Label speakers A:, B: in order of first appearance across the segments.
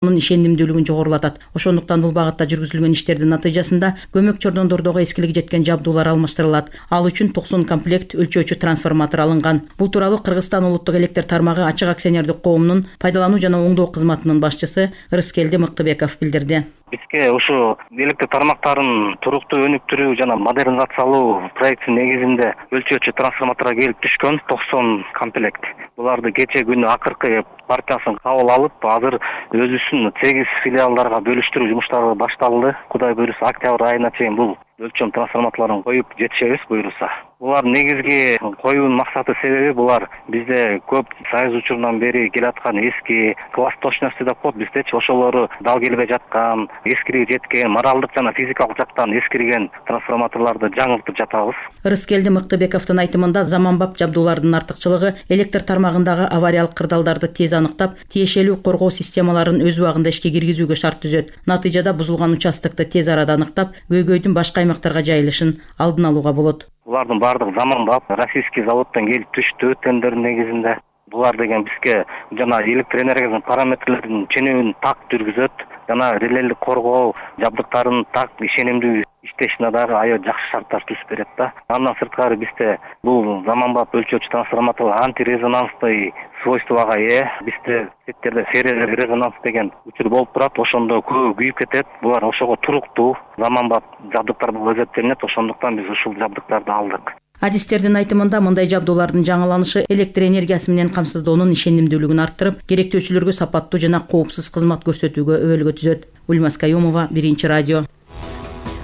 A: ишенимдүүлүгүн жогорулатат. Ошондуктан бул багытта жүргүзүлгөн иштердин натыйжасында көмөк чордондордогу эскилиги жеткен жабдуулар алмаштырылат. Ал үчүн 90 комплект өлчөөчү трансформатор алынган. Бул тууралуу Кыргызстан улуттук электр тармагы ачык акционердик коомунун пайдалануу жана оңдоо кызматынын башчысы Рыскелди Мыктыбеков билдирди.
B: Бизге ушу электр тармактарын туруктуу өнүктүрүү жана модернизациялоо проектинин негизинде өлчөөчү трансформаторго келип түшкөн 90 комплект. Буларды кече күнү акыркы партиясын кабыл алып, азыр өзүбүздүн 8 филиалдарга бөлүштүрүү жумуштары башталды. Кудай буйруса, октябрь айына чейин бул өлчөм трансформаторлорун коюп жетишебиз буйруса. Булар негизги коюунун максаты себеби булар бизде көп Союз учурунан бери келаткан эски класс точности деп коет биздечи, ошолору дал келбей жаткан, эскириги жеткен, моралдык жана физикалык жактан эскирген трансформаторлорду жаңыртып жатабыз.
A: Рыскелди Мыктыбековдун айтымында заманбап жабдуулардын артыкчылыгы электр тармагындагы авариялык кырдаалдарды тез аныктап, тиешелүү коргоо системаларын өз убагында ишке киргизүүгө шарт түзөт. Натыйжада бузулган участокты тез арада аныктап, көйгөйдүн башка аймактарга жайылышын алдын алууга болот.
B: Булардын баардыгы заманбап, российский заводдон келип түштү тендердин негизинде. Булар деген бизге жана электр энергиясынын параметрлерин ченемин так жүргүзөт, жана релелик коргоо жабдыктарын так ишенимдүү иштешине дагы аябай жакшы шарттар түзүп берет да. Андан сырткары бизде бул заманбап өлчөөчү трансформатор антирезонансный свойствого ээ. Бизде сеттерде феррорезонанс деген учур болуп турат, ошондо көбү күйүп кетет. Булар ошого туруктуу заманбап жабдыктар болуп эсептелинет. Ошондуктан биз ушул жабдыктарды алдык.
A: Адистердин айтымында мындай жабдуулардын жаңыланышы электр энергиясы менен камсыздоонун ишенимдүүлүгүн арттырып, керектөөчүлөргө сапаттуу жана коопсуз кызмат көрсөтүүгө өбөлгө түзөт. Ульмас Каюмова, Биринчи радио.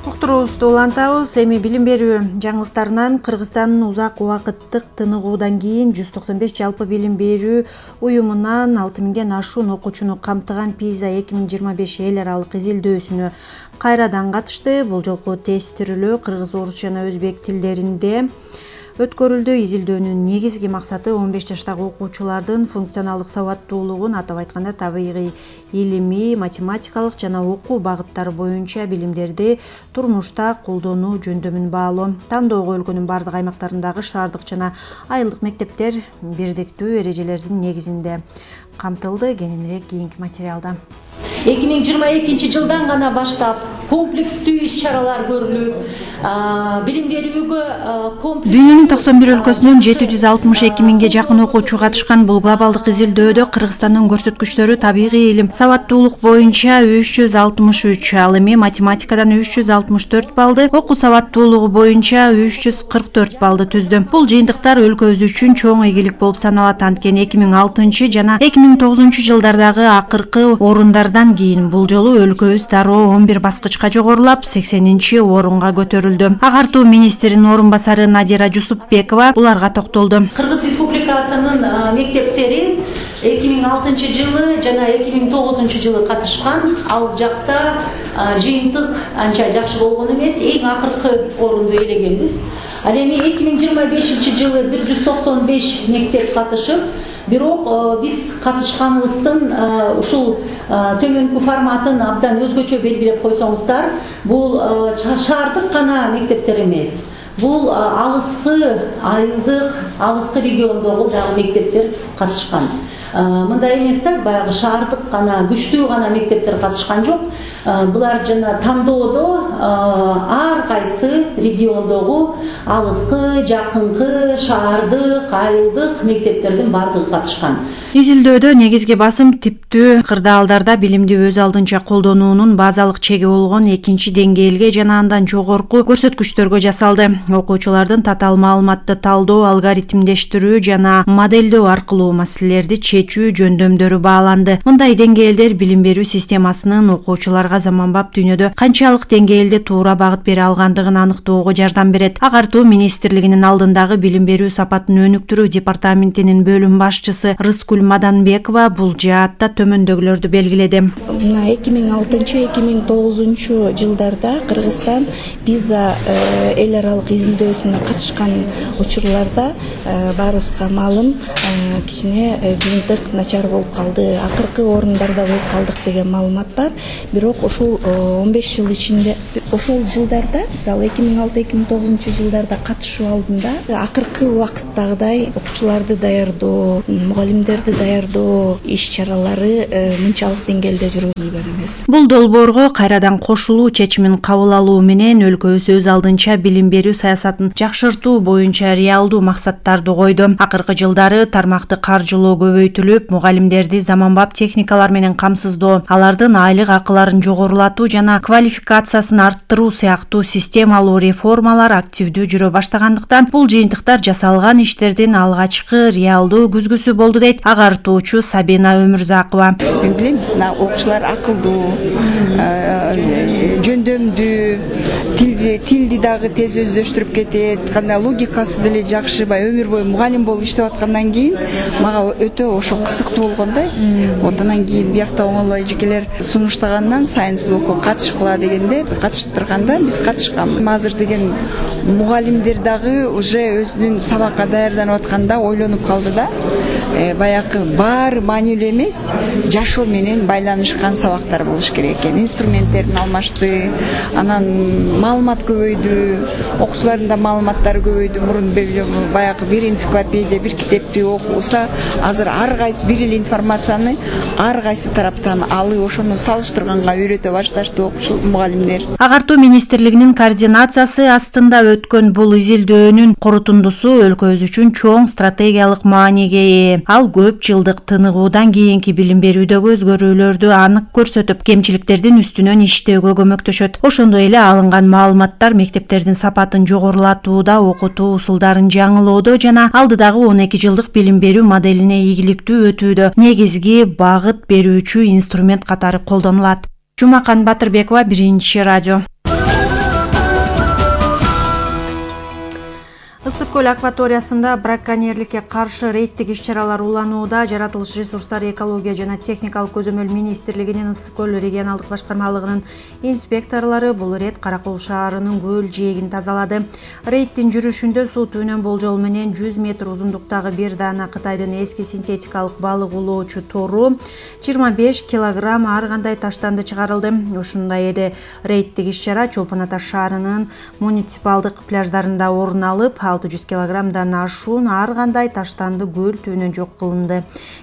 C: Уктуруубузду улантабыз. Эми билим берүү жаңылыктарынан Кыргызстандын узак убакыттык тыныгуудан кийин 195 жалпы билим берүү уюмунан 6000ден ашуун окуучуну камтыган PISA 2025 эл аралык изилдөөсүнө кайрадан катышты. Бул жолку тестирүүлөө кыргыз, орус жана өзбек тилдеринде өткөрүлдү. Изилдөөнүн негизги максаты 15 жаштагы окуучулардын функционалдык сабаттуулугун, атап айтканда табигый, илимий, математикалык жана окуу багыттары боюнча билимдерди турмушта колдонуу жөндөмүн баалоо. Тандоого өлкөнүн бардык аймактарындагы шаардык жана айылдык мектептер бирдиктүү эрежелердин негизинде камтылды. Кененирээк кийинки материалда.
D: 2022 жылдан гана баштап комплекстүү иш-чаралар көрүлүп, билим берүүгө
C: Дүйнөнүн 91 өлкөсүнөн 762 миңге жакын окуучу катышкан бул глобалдык изилдөөдө Кыргызстандын көрсөткүчтөрү табигый илим, сабаттуулук боюнча 363, ал эми математикадан 364 баллды, окуу сабаттуулугу боюнча 344 баллды түздү. Бул жыйынтыктар өлкөбүз үчүн чоң ийгилик болуп саналат. Анткени 2006 жана 2009 жылдардагы акыркы орундардан кийин бул жолу өлкөбүз дароо 11 баскычка жогорулап 80 орунга көтөрүлдү. Агартуу министринин орун басары Надира Жусупбекова буларга токтолду.
D: Кыргыз Республикасынын мектептери 2006 жылы жана 2009 жылы катышкан. Ал жакта жыйынтык анча жакшы болгон эмес, эң акыркы орунду ээлегенбиз. Ал эми 2025 жылы 195 мектеп катышып, бирок биз катышканыбыздын ушул төмөнкү форматын абдан өзгөчө белгилеп койсоңуздар, бул шаардык гана мектептер эмес. Бул алыскы, айылдык, алыскы региондогу дагы мектептер катышкан. Мындай эмес да, баягы шаардык гана, күчтүү гана мектептер катышкан жок. Булар жана тандоодо ар кайсы региондогу алыскы, жакынкы, шаардык, айылдык мектептердин бардыгы катышкан.
C: Изилдөөдө негизги басым типтүү кырдаалдарда билимди өз алдынча колдонуунун базалык чеги болгон экинчи деңгээлге жана андан жогорку көрсөткүчтөргө жасалды. Окуучулардын татаал маалыматты талдоо, алгоритмдештирүү жана моделдөө аркылуу маселелерди чечүү жөндөмдөрү бааланды. Мындай деңгээлдер билим берүү системасынын окуучуларга заманбап дүйнөдө канчалык деңгээлде туура багыт бере алгандыгын аныктоого жардам берет. Агартуу министрлигинин алдындагы билим берүү сапатын өнүктүрүү департаментинин бөлүм башчысы Рыскуль Маданбекова бул жаатта төмөндөгүлөрдү белгиледи.
E: 2006-2009 жылдарда Кыргызстан PISA эл аралык изилдөөсүнө катышкан учурларда баарыбызга маалым кичине кырдаалдык начар болуп калды, акыркы орундарда болуп калдык деген маалымат бар. Бирок ошол 15 жыл ичинде, ошол жылдарда, мисалы 2006-2009 жылдарда катышуу алдында акыркы убакыттагыдай окуучуларды даярдоо, мугалимдерди даярдоо иш-чаралары мынчалык деңгээлде жүргүзүлгөн эмес.
C: Бул долбоорго кайрадан кошулуу чечимин кабыл алуу менен өлкөбүз өз алдынча билим берүү саясатын жакшыртуу боюнча реалдуу максаттарды койду. Акыркы жылдары тармакты каржылоо көбөйтүлүп, мугалимдерди заманбап техникалар менен камсыздоо, алардын айлык акыларын жогорулатуу жана квалификациясын арттыруу сыяктуу системалуу реформалар активдүү жүрө баштагандыктан бул жыйынтыктар жасалган иштердин алгачкы реалдуу күзгүсү болду дейт агартуучу Сабина Өмүрзакова.
F: Мен билем, биздин окуучулар акылдуу, жөндөмдүү, тилди дагы тез өздөштүрүп кетет, кандай логикасы деле жакшы, өмүр бою мугалим болуп иштеп аткандан кийин мага өтө ошо кызыктуу болгон да. Вот анан кийин биякта оңолой эжекелер сунуштагандан Science блокко катышкыла дегенде катыштырганда биз катышканбыз. Азыр деген мугалимдер дагы уже өзүнүн сабакка даярданып атканда ойлонуп калды да. Баягы баары маанилүү эмес, жашоо менен байланышкан сабактар болуш керек экен. Инструменттерин алмашты, анан маалымат көбөйдү, окуучулардын да маалыматтары көбөйдү. Мурун баягы бир энциклопедия, бир китепти окуса, азыр ар кайсы бир эле информацияны ар кайсы тараптан алып, ошону салыштырганга үйрөтө башташты окуучу мугалимдер.
C: Агартуу министрлигинин координациясы астында өткөн бул изилдөөнүн корутундусу өлкөбүз үчүн чоң стратегиялык мааниге ээ. Ал көп жылдык тыныгуудан кийинки билим берүүдөгү өзгөрүүлөрдү анык көрсөтүп, кемчиликтердин үстүнөн иштөөгө көмөктөшөт. Ошондой эле алынган маалыматтар мектептердин сапатын жогорулатууда, окутуу усулдарын жаңылоодо жана алдыдагы 12 жылдык билим берүү моделине ийгиликтүү өтүүдө негизги багыт берүүчү инструмент катары колдонулат. Жумакан Батырбекова, Биринчи радио. Ысык көл акваториясында браконьерликке каршы рейдтик иш-чаралар уланууда. Жаратылыш ресурстары, экология жана техникалык көзөмөл министрлигинин Ысык көл регионалдык башкармалыгынын инспекторлору бул ирет Каракол шаарынын көл жээгин тазалады. Рейдтин жүрүшүндө суу түбүнөн болжол менен 100 метр узундуктагы бир даана Кытайдын эски синтетикалык балык улоочу тору 25 килограмм ар кандай таштанды чыгарылды. Ушундай эле рейдтик иш-чара Чолпон Ата шаарынын муниципалдык пляждарында орун алып, 600 килограммдан ашуун ар кандай таштанды көл түбүнөн жок кылынды.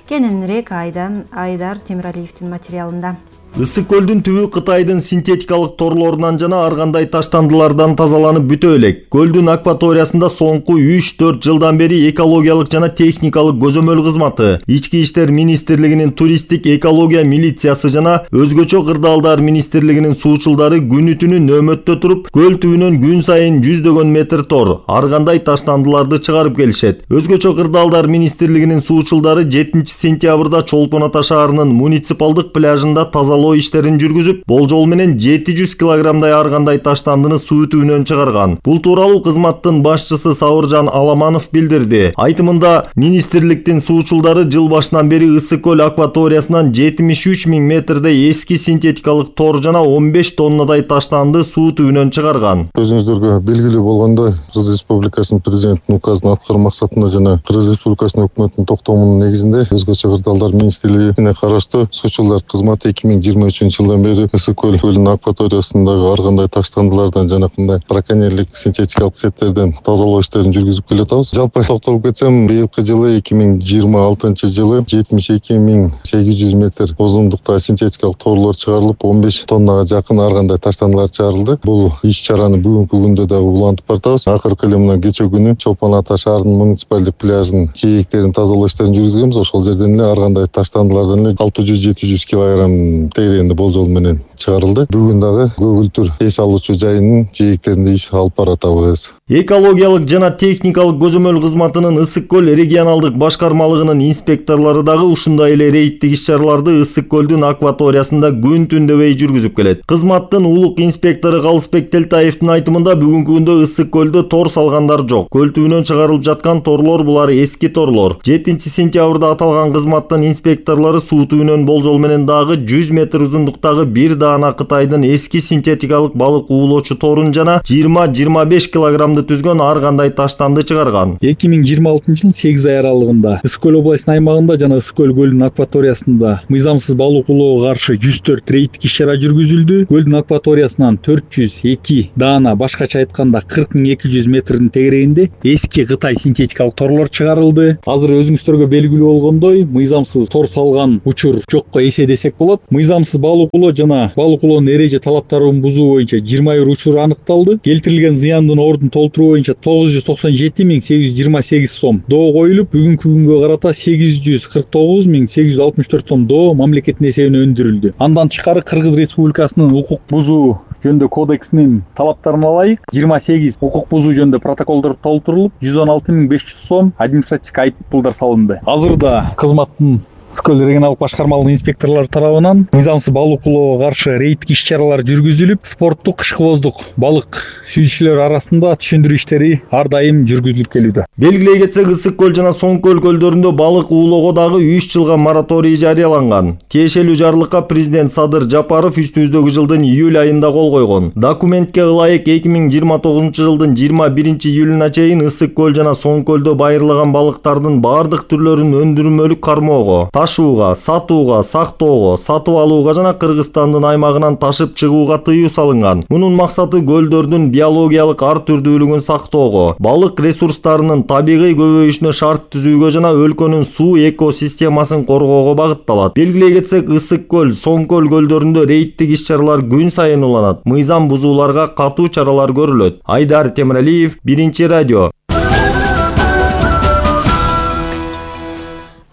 C: Кененирээк Айдар Темиралиевдин материалында.
G: Ысык көлдүн түбү Кытайдын синтетикалык торлорунан жана ар кандай таштандылардан тазаланып бүтө элек. Көлдүн акваториясында соңку 3-4 жылдан бери экологиялык жана техникалык көзөмөл кызматы, Ички иштер министрлигинин туристтик экология милициясы жана өзгөчө кырдаалдар министрлигинин суучулдары күнү түнү нөөмөттө туруп, көл түбүнөн күн сайын 100 метр тор, ар кандай таштандыларды чыгарып келишет. Өзгөчө кырдаалдар министрлигинин суучулдары 7 сентябрда Чолпон Ата шаарынын муниципалдык пляжында тазалоо иштерин жүргүзүп, болжол менен 700 килограммдай ар кандай таштандыны суу түбүнөн чыгарган. Бул тууралуу кызматтын башчысы Сабыржан Аламанов билдирди. Айтымында, министрликтин суучулдары жыл башынан бери Ысык көл акваториясынан 73 000 метрдей эски синтетикалык тор жана 15 тоннадай таштанды суу түбүнөн чыгарган.
H: Өзүңүздөргө белгилүү болгондой, Кыргыз Республикасынын президентинин указын аткаруу максатында жана Кыргыз Республикасынын өкмөтүнүн токтомунун негизинде өзгөчө кырдаалдар министрлигине караштуу суучулдар кызматы 2023 жылдан бери Ысык көлүнүн акваториясындагы ар кандай таштандылардан жана кандай браконьерлик синтетикалык сеттерден тазалоо иштерин жүргүзүп келатабыз. Жалпы токтолуп кетсем, быйылкы жылы 2026 жылы 72 800 метр узундуктагы синтетикалык торлор чыгарылып, 15 тоннага жакын ар кандай таштандылар чыгарылды. Бул иш-чараны бүгүнкү күндө дагы улантып баратабыз. Акыркы эле мына кечээ күнү Чолпон Ата шаарынын муниципалдык пляжынын жээктерин тазалоо иштерин жүргүзгөнбүз. Ошол жерден эле ар кандай таштандылардан эле 600-700 килограмм тегерегинде болжол менен чыгарылды. Бүгүн дагы көгүлтүр эс алуучу жайынын жээктеринде иш алып баратабыз.
G: Экологиялык жана техникалык көзөмөл кызматынын Ысык көл регионалдык башкармалыгынын инспекторлору дагы ушундай эле рейдтик иш-чараларды Ысык көлдүн акваториясында күн түн дебей жүргүзүп келет. Кызматтын улук инспектору Калысбек Телтаевдин айтымында, бүгүнкү күндө Ысык көлдө тор салгандар жок. Көл түбүнөн чыгарылып жаткан торлор булар эски торлор. 7 сентябрда аталган кызматтын инспекторлору суу түбүнөн болжол менен дагы 100 метр метр узундуктагы бир даана Кытайдын эски синтетикалык балык уулоочу торун жана 20-25 килограммды түзгөн ар кандай таштанды чыгарган.
I: 2026 жыл 8 ай аралыгында Ысык көл областынын аймагында жана Ысык көл көлүнүн акваториясында мыйзамсыз балык уулоого каршы 104 рейдтик иш-чара жүргүзүлдү. Көлдүн акваториясынан 402 даана, башкача айтканда 40.200 метрдин тегерегинде эски Кытай синтетикалык торлор чыгарылды. Азыр өзүңүздөргө белгилүү болгондой, мыйзамсыз тор салган учур жокко эсе десек болот. Мыйзамсыз балык уулоо жана балык уулоонун эреже талаптарын бузуу боюнча 21 учур аныкталды. Келтирилген зыяндын ордун толтуруу боюнча 997.828 сом доо коюлуп, бүгүнкү күнгө карата 849.864 сом доо мамлекеттин эсебине өндүрүлдү. Андан тышкары Кыргыз Республикасынын укук бузуу жөнүндө кодексинин талаптарына ылайык 28 укук бузуу жөнүндө протоколдор толтурулуп, 116.500 сом административдик айып пулдар салынды. Азырда кызматтын Ысык көл регионалдык башкармалыгынын инспекторлору тарабынан мыйзамсыз балык уулоого каршы рейдтик иш-чаралар жүргүзүлүп, спорттук кышкыбоздук балык сүйүүчүлөр арасында түшүндүрүү иштери ар дайым жүргүзүлүп келүүдө.
G: Белгилей кетсек, Ысык көл жана Соң көл көлдөрүндө балык уулоого дагы 3 жылга мораторий жарыяланган. Тиешелүү жарлыкка президент Садыр Жапаров үстүбүздөгү жылдын июль айында кол койгон. Документке ылайык 2029 жылдын 21 июлуна чейин Ысык көл жана Соң көлдө байырлаган балыктардын бардык түрлөрүн өндүрмөлүк кармоого, ташууга, сатууга, сактоого, сатып алууга жана Кыргызстандын аймагынан ташып чыгууга тыюу салынган. Мунун максаты көлдөрдүн биологиялык ар түрдүүлүгүн сактоого, балык ресурстарынын табигый көбөйүшүнө шарт түзүүгө жана өлкөнүн суу экосистемасын коргоого багытталат. Белгилей кетсек, Ысык көл, Соң көл көлдөрүндө рейдтик иш-чаралар күн сайын уланат. Мыйзам бузууларга катуу чаралар көрүлөт. Айдар Темиралиев, Биринчи радио.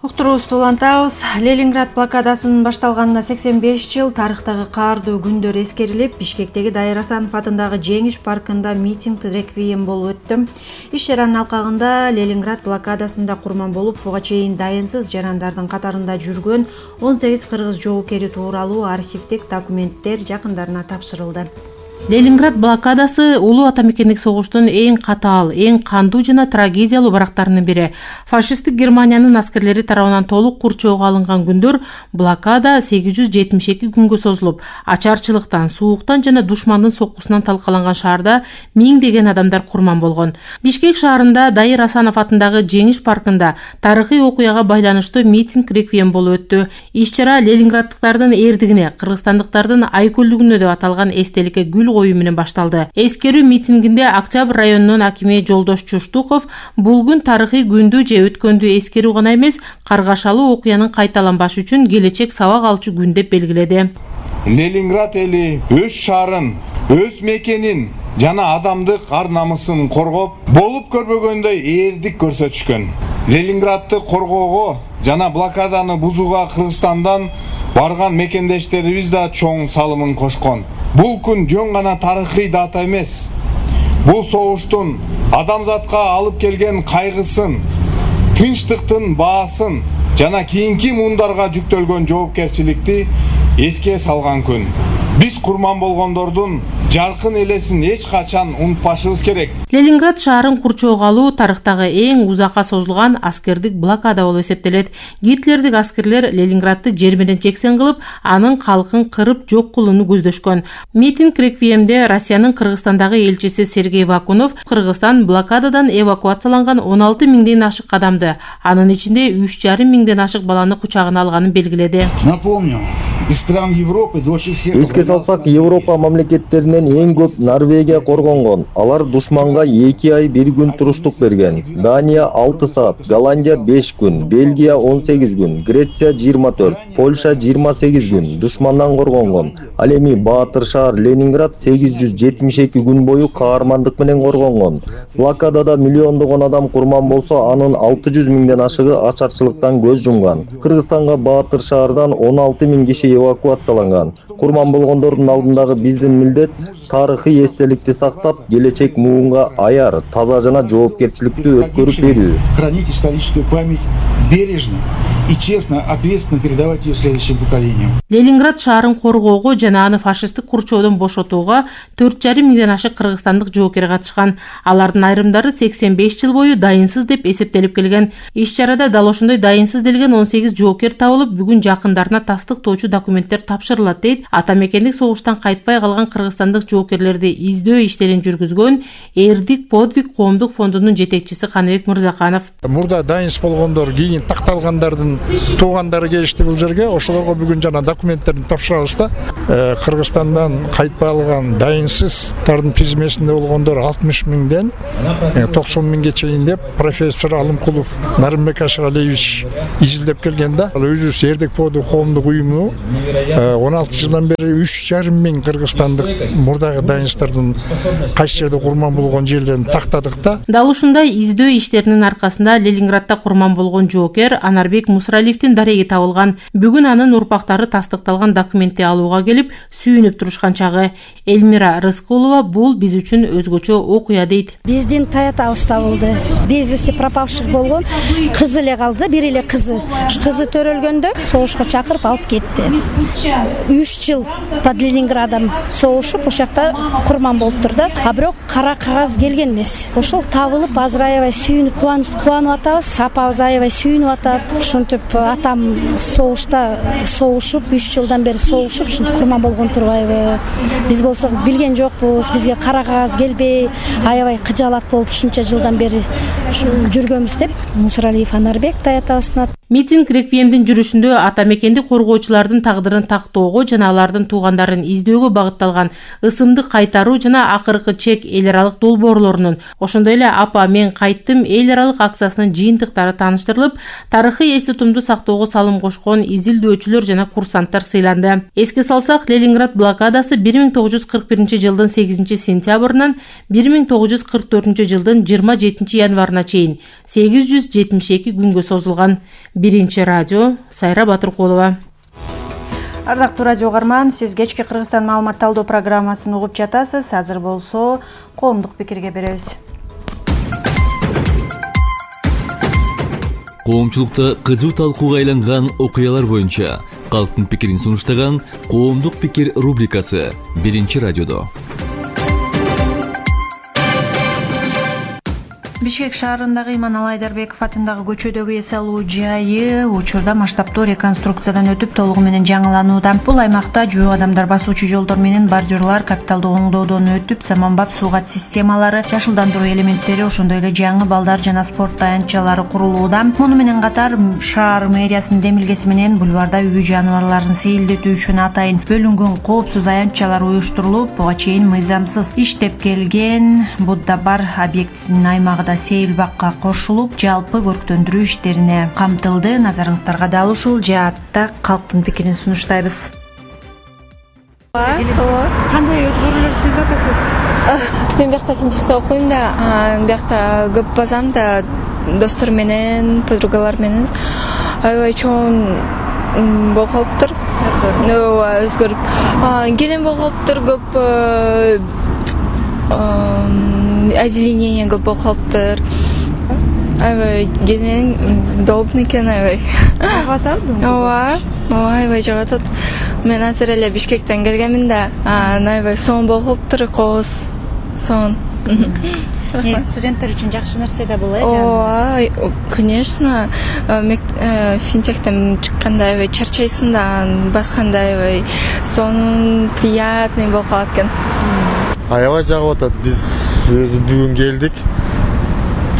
C: Уктуруубузду улантабыз. Ленинград блокадасынын башталганына 85 жыл, тарыхтагы каардуу күндөр эскерилип, Бишкектеги Дайыр Асанов атындагы Жеңиш паркында митинг реквием болуп өттү. Иш-чаранын алкагында Ленинград блокадасында курман болуп, буга чейин дайынсыз жарандардын катарында жүргөн 18 кыргыз жоокери тууралуу архивдик документтер жакындарына тапшырылды.
A: Ленинград блокадасы улуу ата мекендик согуштун эң катаал, эң кандуу жана трагедиялуу барактарынын бири. Фашисттик Германиянын аскерлери тарабынан толук курчоого алынган күндөр блокада 872 күнгө созулуп, ачарчылыктан, сууктан жана душмандын соккусунан талкаланган шаарда миңдеген адамдар курман болгон. Бишкек шаарында Дайыр Асанов атындагы Жеңиш паркында тарыхый окуяга байланыштуу митинг реквием болуп өттү. Иш-чара ленинграддыктардын эрдигине, кыргызстандыктардын айкөлдүгүнө деп аталган эстеликке гүл коюу менен башталды. Эскерүү митингинде Октябрь районунун акими Жолдош Чуштуков бул күн тарыхый күндү же өткөндү эскерүү гана эмес, каргашалуу окуянын кайталанбашы үчүн келечек сабак алчу күн деп белгиледи.
J: Ленинград эли өз шаарын, өз мекенин жана адамдык ар намысын коргоп, болуп көрбөгөндөй эрдик көрсөтүшкөн. Ленинградты коргоого жана блокаданы бузууга Кыргызстандан барган мекендештерибиз да чоң салымын кошкон. Бул күн жөн гана тарыхый дата эмес. Бул согуштун адамзатка алып келген кайгысын, тынчтыктын баасын жана кийинки муундарга жүктөлгөн жоопкерчиликти эске салган күн. Биз курман болгондордун жаркын элесин эч качан унутпашыбыз керек.
A: Ленинград шаарын курчоого алуу тарыхтагы эң узакка созулган аскердик блокада болуп эсептелет. Гитлердик аскерлер Ленинградты жер менен жексен кылып, анын калкын кырып жок кылууну көздөшкөн. Митинг реквиемде Россиянын Кыргызстандагы элчиси Сергей Вакунов Кыргызстан блокададан эвакуацияланган 16 миңден ашык адамды, анын ичинде 3,5 миңден ашык баланы кучагына алганын белгиледи.
K: Напомню, из стран Европы дольше всех.
G: Эске салсак, Европа мамлекеттеринен эң көп Норвегия коргонгон. Алар душманга 2 ай 1 күн туруштук берген. Дания 6 саат, Голландия 5 күн, Бельгия 18 күн, Греция 24, Польша 28 күн душмандан коргонгон. Ал эми баатыр шаар Ленинград 872 күн бою каармандык менен коргонгон. Блокадада миллиондогон адам курман болсо, анын 600 миңден ашыгы ачарчылыктан көз жумган. Кыргызстанга баатыр шаардан 16 миң киши эвакуацияланган. Курман болгондордун алдындагы биздин милдет тарыхый эстеликти сактап, келечек муунга аяр, таза жана жоопкерчиликтүү өткөрүп берүү.
K: Хранить историческую память бережно и честно, ответственно передавать ее следующим поколениям.
L: Ленинград шаарын коргоого жана аны фашисттик курчоодон бошотууга 4,5 миңден ашык кыргызстандык жоокер катышкан. Алардын айрымдары 85 жыл бою дайынсыз деп эсептелип келген. Иш-чарада дал ошондой дайынсыз делген 18 жоокер табылып, бүгүн жакындарына тастыктоочу документтер тапшырылат дейт ата мекендик согуштан кайтпай калган кыргызстандык жоокерлерди издөө иштерин жүргүзгөн Эрдик подвиг коомдук фондунун жетекчиси Каныбек Мырзаканов.
M: Мурда дайынсыз болгондор, кийин такталгандардын туугандары келишти бул жерге. Ошолорго бүгүн жана документтерин тапшырабыз да. Кыргызстандан кайтпай алган дайынсыздардын тизмесинде болгондор 60 миңден 90 миңге чейин деп профессор Алымкулов Нарымбек Ашыралиевич изилдеп келген да. Ал өзүбүз Эрдик подвиг коомдук уюму 16 жылдан бери 3,5 миң кыргызстандык мурдагы дайынсыздардын кайсы жерде курман болгон жерлерин тактадык да.
L: Дал ушундай издөө иштеринин аркасында Ленинградда курман болгон жоокер Анарбек Мусралиевдин дареги табылган. Бүгүн анын урпактары тастыкталган документти алууга келип, сүйүнүп турушкан чагы. Элмира Рыскулова бул биз үчүн өзгөчө окуя дейт.
N: Биздин таятабыз табылды. Без вести пропавших болгон кызы эле калды, бир эле кызы. Кызы төрөлгөндө согушка чакырып алып кетти. 3 жыл под Ленинградом согушуп, ошол жакта курман болуптур да. А бирок кара кагаз келген эмес. Ошол табылып азыр аябай сүйүнүп кубанып атабыз. Апабыз аябай сүйүнүп атат. Ушинтип атам согушта согушуп 3 жылдан бери согушуп, ушинтип курман болгон турбайбы. Биз болсок билген жокпуз. Бизге кара кагаз келбей, аябай кыжаалат болуп ушунча жылдан бери жүргөнбүз деп Мусралиев Анарбек таятабызына.
L: Митинг реквиемдин жүрүшүндө ата мекенди коргоочулардын тагдырын тактоого жана алардын туугандарын издөөгө багытталган ысымды кайтаруу жана акыркы чек эл аралык долбоорлорунун, ошондой эле апа мен кайттым эл аралык акциясынын жыйынтыктары тааныштырылып, тарыхый эсте тумду сактоого салым кошкон изилдөөчүлөр жана курсанттар сыйланды. Эске салсак, Ленинград блокадасы 1941 жылдын 8 сентябрынан 1944 жылдын 27 январына чейин 872 күнгө созулган. Биринчи радио, Сайра Батыркулова.
C: Ардактуу радио угарман, сиз кечки Кыргызстан маалымат талдоо программасын угуп жатасыз. Азыр болсо коомдук пикирге беребиз.
O: Коомчулукта кызуу талкууга айланган окуялар боюнча калктын пикирин сунуштаган коомдук пикир рубрикасы Биринчи радиодо.
P: Бишкек шаарындагы Иманалы Айдарбеков атындагы көчөдөгү эс алуу жайы учурда масштабтуу реконструкциядан өтүп толугу менен жаңыланууда. Бул аймакта жөө адамдар басуучу жолдор менен бордюрлар капиталдуу оңдоодон өтүп, заманбап суугат системалары, жашылдандыруу элементтери, ошондой эле жаңы балдар жана спорт таянчалары курулууда. Муну менен катар шаар мэриясынын демилгеси менен бульварда үй жаныбарларын сейилдетүү үчүн атайын бөлүнгөн коопсуз аянтчалар уюштурулуп, буга чейин мыйзамсыз иштеп келген Будда бар объектисинин аймагы сейил бакка кошулуп, жалпы көрктөндүрүү иштерине камтылды. Назарыңыздарга дал ушул жаатта калктын пикирин сунуштайбыз.
Q: Кандай өзгөрүүлөр сезип атасыз? Мен биякта финтехте окуйм да, биякта көп базам да, достор менен, подругалар менен аябай чоң болуп калыптыр. Өзгөрүп, келем болуп калыптыр, көп озеленение көп болуп калыптыр. Аябай кенен удобный экен, аябай. Жагып атабы? Ооба, аябай жагып атат. Мен азыр эле Бишкектен келгенмин да, аябай сонун болуп калыптыр, кооз, сонун.
C: Студенттер үчүн жакшы нерсе да бул,
Q: Ооба, конечно. Финтехтен чыкканда аябай чарчайсың да, басканда аябай сонун, приятный болуп калат экен.
R: Аябай жагып атат. Биз өзү бүгүн келдик.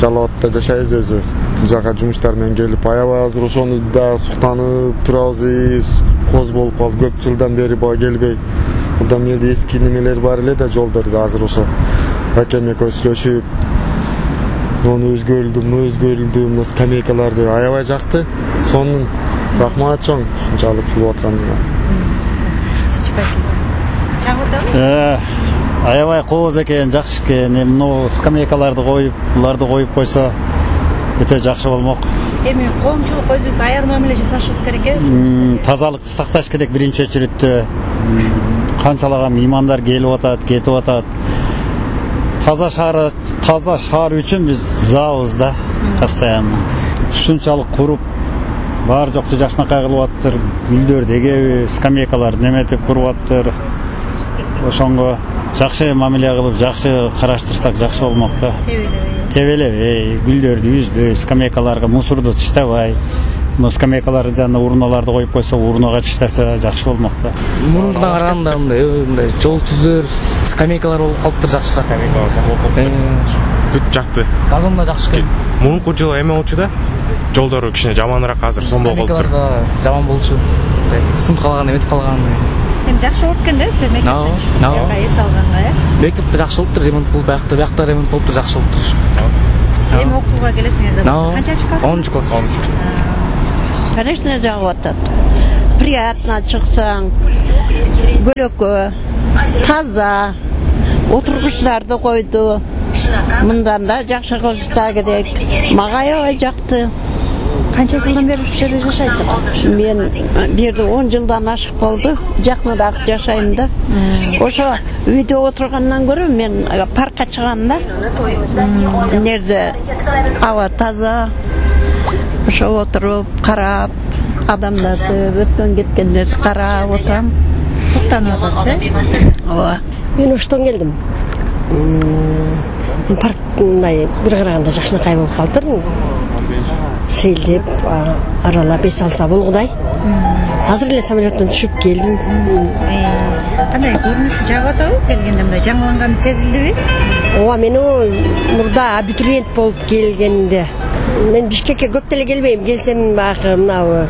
R: Жалал абадта жашайбыз өзү. Бул жака жумуштар менен келип, аябай азыр ошону да суктанып турабыз. Коз болуп калды, көп жылдан бери бага келбей. Мурда эмне эски немелер бар эле да, жолдордо азыр ошо ракем экөөбүз сүйлөшүп, муну өзгөрүлдү, мына скамейкаларды аябай жакты. Сонун рахмат чоң ушунчалык чулуп атканына.
S: Аябай кооз экен, жакшы экен. Мына скамейкаларды коюп, буларды коюп койсо өтө жакшы болмок.
C: Эми коомчулук өзүбүз аяр мамиле жасашыбыз керек э?
S: Тазалыкты сакташ керек биринчи очередте. Канчалаган меймандар келип атат, кетип атат. Таза шаар үчүн биз заабыз да, постоянно. Ушунчалык куруп, Бар жокту жакшынакай кылып атыптыр. Гүлдөрдү эгеби, скамейкаларды неметип куруп атыптыр. Ошонго жакшы мамиле кылып, жакшы караштырсак жакшы болмок да. Тебелебей, гүлдөрдү үзбөй, скамейкаларга мусорду таштабай. Скамейкаларды жана урналарды коюп койсо, урнага таштаса жакшы болмок да.
T: Мурунга караганда мындай жол түздөр, скамейкалар болуп калыптыр жакшыраак.
U: Бүт жакты.
T: Газон да жакшы экен.
U: Мурунку жылы эме болчу да. Жолдору кичине жаманыраак, азыр сомбол болуптур.
T: Скамейкалар да жаман болчу. Сынып калган, эметип калган.
P: Эми жакшы болуп экен да, силер мектептен эс алганга,
T: Мектепте жакшы болуптур, ремонт болуп, биякта ремонт болуптур, жакшы болуптур.
P: Эми окууга келесиңер да. Канчанчы класс?
T: 10-класс.
V: Конечно, жагып атат. Приятно чыксаң, көлөкө, таза, отургучтарды койду. Мындан да жакшы кылышса керек. Мага аябай жакты.
P: Канча жылдан бери ушул жерде жашайсыз?
V: Мен бу жерде 10 жылдан ашык болду. Жакыныраак жашайм да. Ошо үйдө отургандан көрө мен паркка чыгам да. Нерде аба таза. Ошо отуруп, карап, адамдарды, өткөн кеткендерди карап отурам.
P: Суктанып атасыз,
V: Ооба.
W: Мен оштон келдим. Парк мындай бир караганда жакшынакай болуп калыптыр. Сейилдеп, аралап эс алса болгудай. Азыр эле самолеттон түшүп келдим.
P: Кандай көрүнүшү жагып атабы? Келгенде мындай жаңыланганы сезилдиби?
W: Ооба, мен мурда абитуриент болуп келгенде мен Бишкекке көп деле келбейм. Келсем баягы мына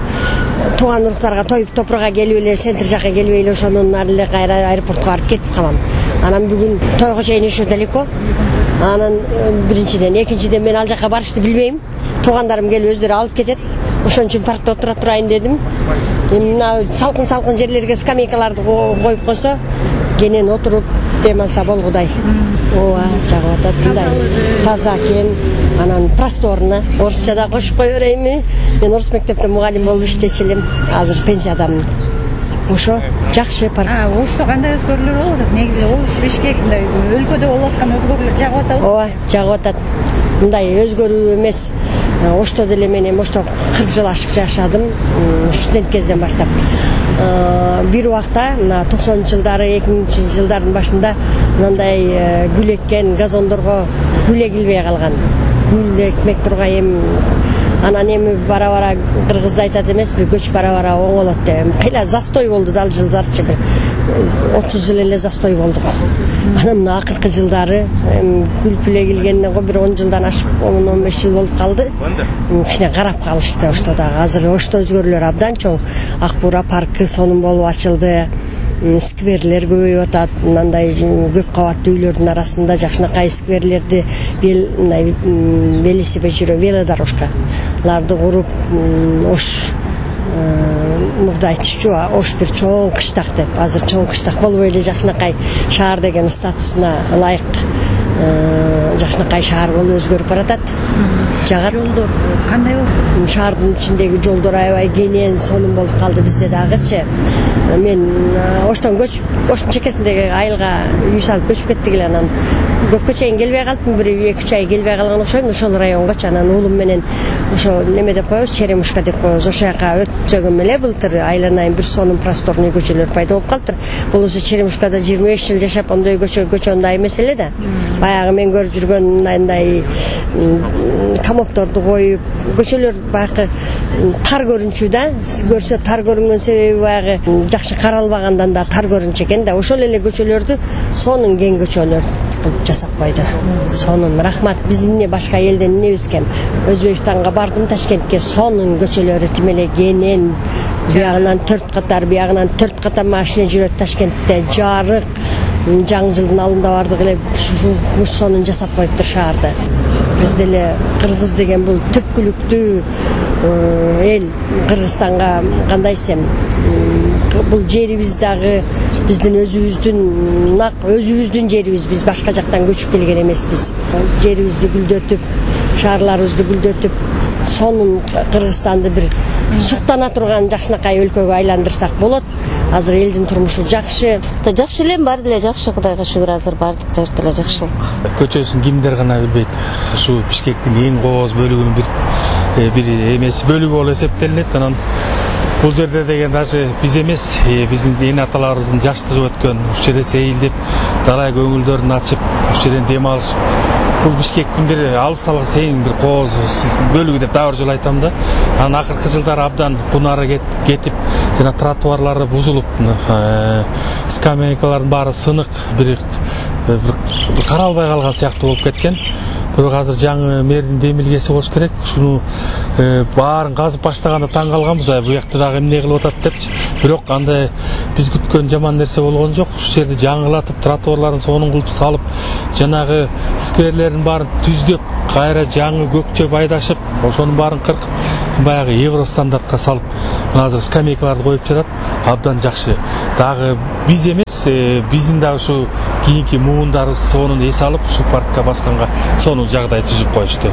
W: тууган уруктарга тоюп топурга келип эле, центр жакка келип эле ошондон ары эле кайра аэропортко барып кетип калам. Анан бүгүн тойго чейин ошо далеко. Анан биринчиден, экинчиден мен ал жака барышты билбейм. Туугандарым келип өздөрү алып кетет. Ошон үчүн паркта отура турайын дедим. Эми мына салкын жерлерге скамейкаларды коюп койсо, кенен отуруп дем алса болгудай. Ооба, жагып атат мындай. Таза экен. Анан просторно. Орусча да кошуп кое берейинби? Мен орус мектепте мугалим болуп иштечү элем. Азыр пенсиядамын. Ошо жакшы парк.
P: Ошто кандай өзгөрүүлөр болуп атат? Негизи Ош, Бишкек мындай өлкөдө болуп аткан өзгөрүүлөр жагып атабы?
W: Ооба, жагып атат. Мындай өзгөрүү эмес. Ошто деле мен эми ошто 40 жыл ашык жашадым. Студент кезден баштап. Бир убакта мына 90-жылдары, 2000-жылдардын башында мындай гүл эккен газондорго гүл эгилбей калган. Гүл экмек тургайым. Анан эми бара-бара кыргыз айтат эмеспи, көч бара-бара оңолот деп. Кыйла застой болду да ал жылдарчы. 30 жыл эле застой болдук. Анан мына акыркы жылдары гүл эгилгенден бир 10 жылдан ашып, 10-15 жыл болуп калды. Кичине карап калышты ошто дагы. Азыр ошто өзгөрүүлөр абдан чоң. Ак Буура паркы сонун болуп ачылды. Скверлер көбөйүп атат. Мындай көп кабаттуу үйлөрдүн арасында жакшынакай скверлерди велосипед жүрө, велодорожка ларды куруп, Ош мурда айтышчу, Ош бир чоң кыштак деп. Азыр чоң кыштак болбой эле жакшынакай шаар деген статусуна ылайык жакшынакай шаар болуп өзгөрүп баратат. Жагат.
P: Жолдор кандай болду?
W: Шаардын ичиндеги жолдор аябай кенен, сонун болуп калды бизде дагычы. Мен Оштон көчүп, Оштун чекесиндеги айылга үй салып көчүп кеттик эле. Анан көпкө чейин келбей калдым, 1-2 ай келбей калган окшойм. Ошол районгочу анан уулум менен ошо неме деп коебуз, Черемушка деп коебуз. Ошол жака өтсөгөм эле былтыр айланайын бир сонун просторный көчөлөр пайда болуп калыптыр. Болсо Черемушкада 25 жыл жашап ондой көчө андай эмес эле да. Баягы мен көрүп жүргөн мындай камокторду коюп, көчөлөр баягы тар көрүнчү да. Көрсө тар көрүнгөн себеби баягы жакшы каралбагандан да тар көрүнчү экен да. Ошол эле көчөлөрдү сонун кең көчөлөр кылып жасап койду. Сонун, рахмат. Биз эмне башка элден эмнебиз экен? Өзбекстанга бардым, Ташкентке, сонун көчөлөрү тим эле кенен. Биягынан 4 катар, биягынан 4 катар машина жүрөт Ташкентте, жарык. Жаңы жылдын алдында бардык эле ушул сонун жасап коюптур шаарды. Биз деле кыргыз деген бул түпкүлүктүү эл. Кыргызстанга кандай десем, бул жерибиз дагы биздин өзүбүздүн жерибиз. Биз башка жактан көчүп келген эмеспиз. Жерибизди гүлдөтүп, шаарларыбызды гүлдөтүп, сонун Кыргызстанды бир суктана турган жакшынакай өлкөгө айландырсак болот. Азыр элдин турмушу жакшы. Жакшы элем, баары деле жакшы, Кудайга шүгүр. Азыр баардык жакта эле жакшылык.
U: Көчөсүн кимдер гана билбейт. Ушу Бишкектин эң кооз бөлүгүнүн бир эмеси бөлүгү болуп эсептелинет. Анан бул жерде деген даже биз эмес, биздин эне аталарыбыздын жаштыгы өткөн, ушул жерде сейилдеп, далай көңүлдөрүн ачып, ушул жерден дем алышып, бул Бишкектин бир алып салгыс эң бир кооз бөлүгү деп дагы бир жолу айтам да. Анан акыркы жылдары абдан кунары кетип, жана тротуарлары бузулуп, скамейкалардын баары сынык, бир каралбай калган сыяктуу болуп кеткен. Бирок азыр жаңы мэрдин демилгеси болуш керек. Ушуну баарын казып баштаганда таң калганбыз, бу жакта дагы эмне кылып атат депчи. Бирок андай биз күткөн жаман нерсе болгон жок. Ушул жерди жаңылатып, тротуарларын сонун кылып салып, жанагы скверлердин баарын түздөп, кайра жаңы көкчөп айдашып, ошонун баарын кыркып, баягы евро стандартка салып, азыр скамейкаларды коюп жатат. Абдан жакшы. Дагы биз эмес, биздин дагы ушу кийинки муундарыбыз сонун эс алып, ушу паркка басканга сонун жагдай түзүп коюшту.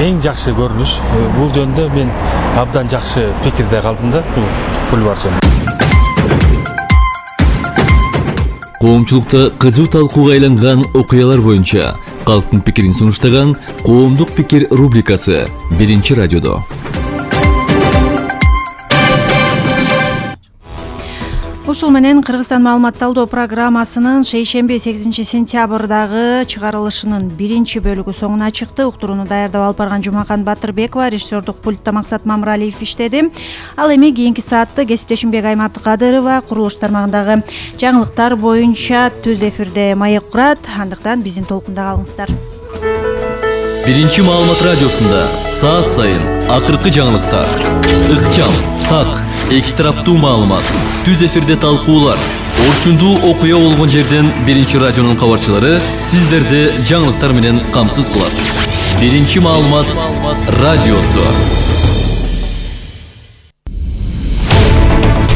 U: Эң жакшы көрүнүш. Бул жөндө мен абдан жакшы пикирде калдым да, бул бульвар жөнүндө.
O: Коомчулукта кызуу талкууга айланган окуялар боюнча калктын пикирин сунуштаган Коомдук пикир рубрикасы 1-радиодо.
C: Ушул менен Кыргызстан маалыматталдоо программасынын шейшемби 8-сентябрдагы чыгарылышынын 1-бөлүгү соңуна чыкты. Уктурууну даярдап алып барган Жумакан Батырбекова, режиссердук пультта Максат Мамралиев иштеди. Ал эми кийинки саатты кесиптешим Бегайым Абдыкадырова курулуш тармагындагы жаңылыктар боюнча түз эфирде маек курат. Андыктан биздин толкунда калыңыздар.
O: 1-маалымат радиосунда саат сайын акыркы жаңылыктар, ыкчам, так, эки тараптуу маалымат, түз эфирде талкуулар, орчундуу окуя болгон жерден 1-радионун кабарчылары сиздерди жаңылыктар менен камсыз кылат. 1-маалымат радиосу.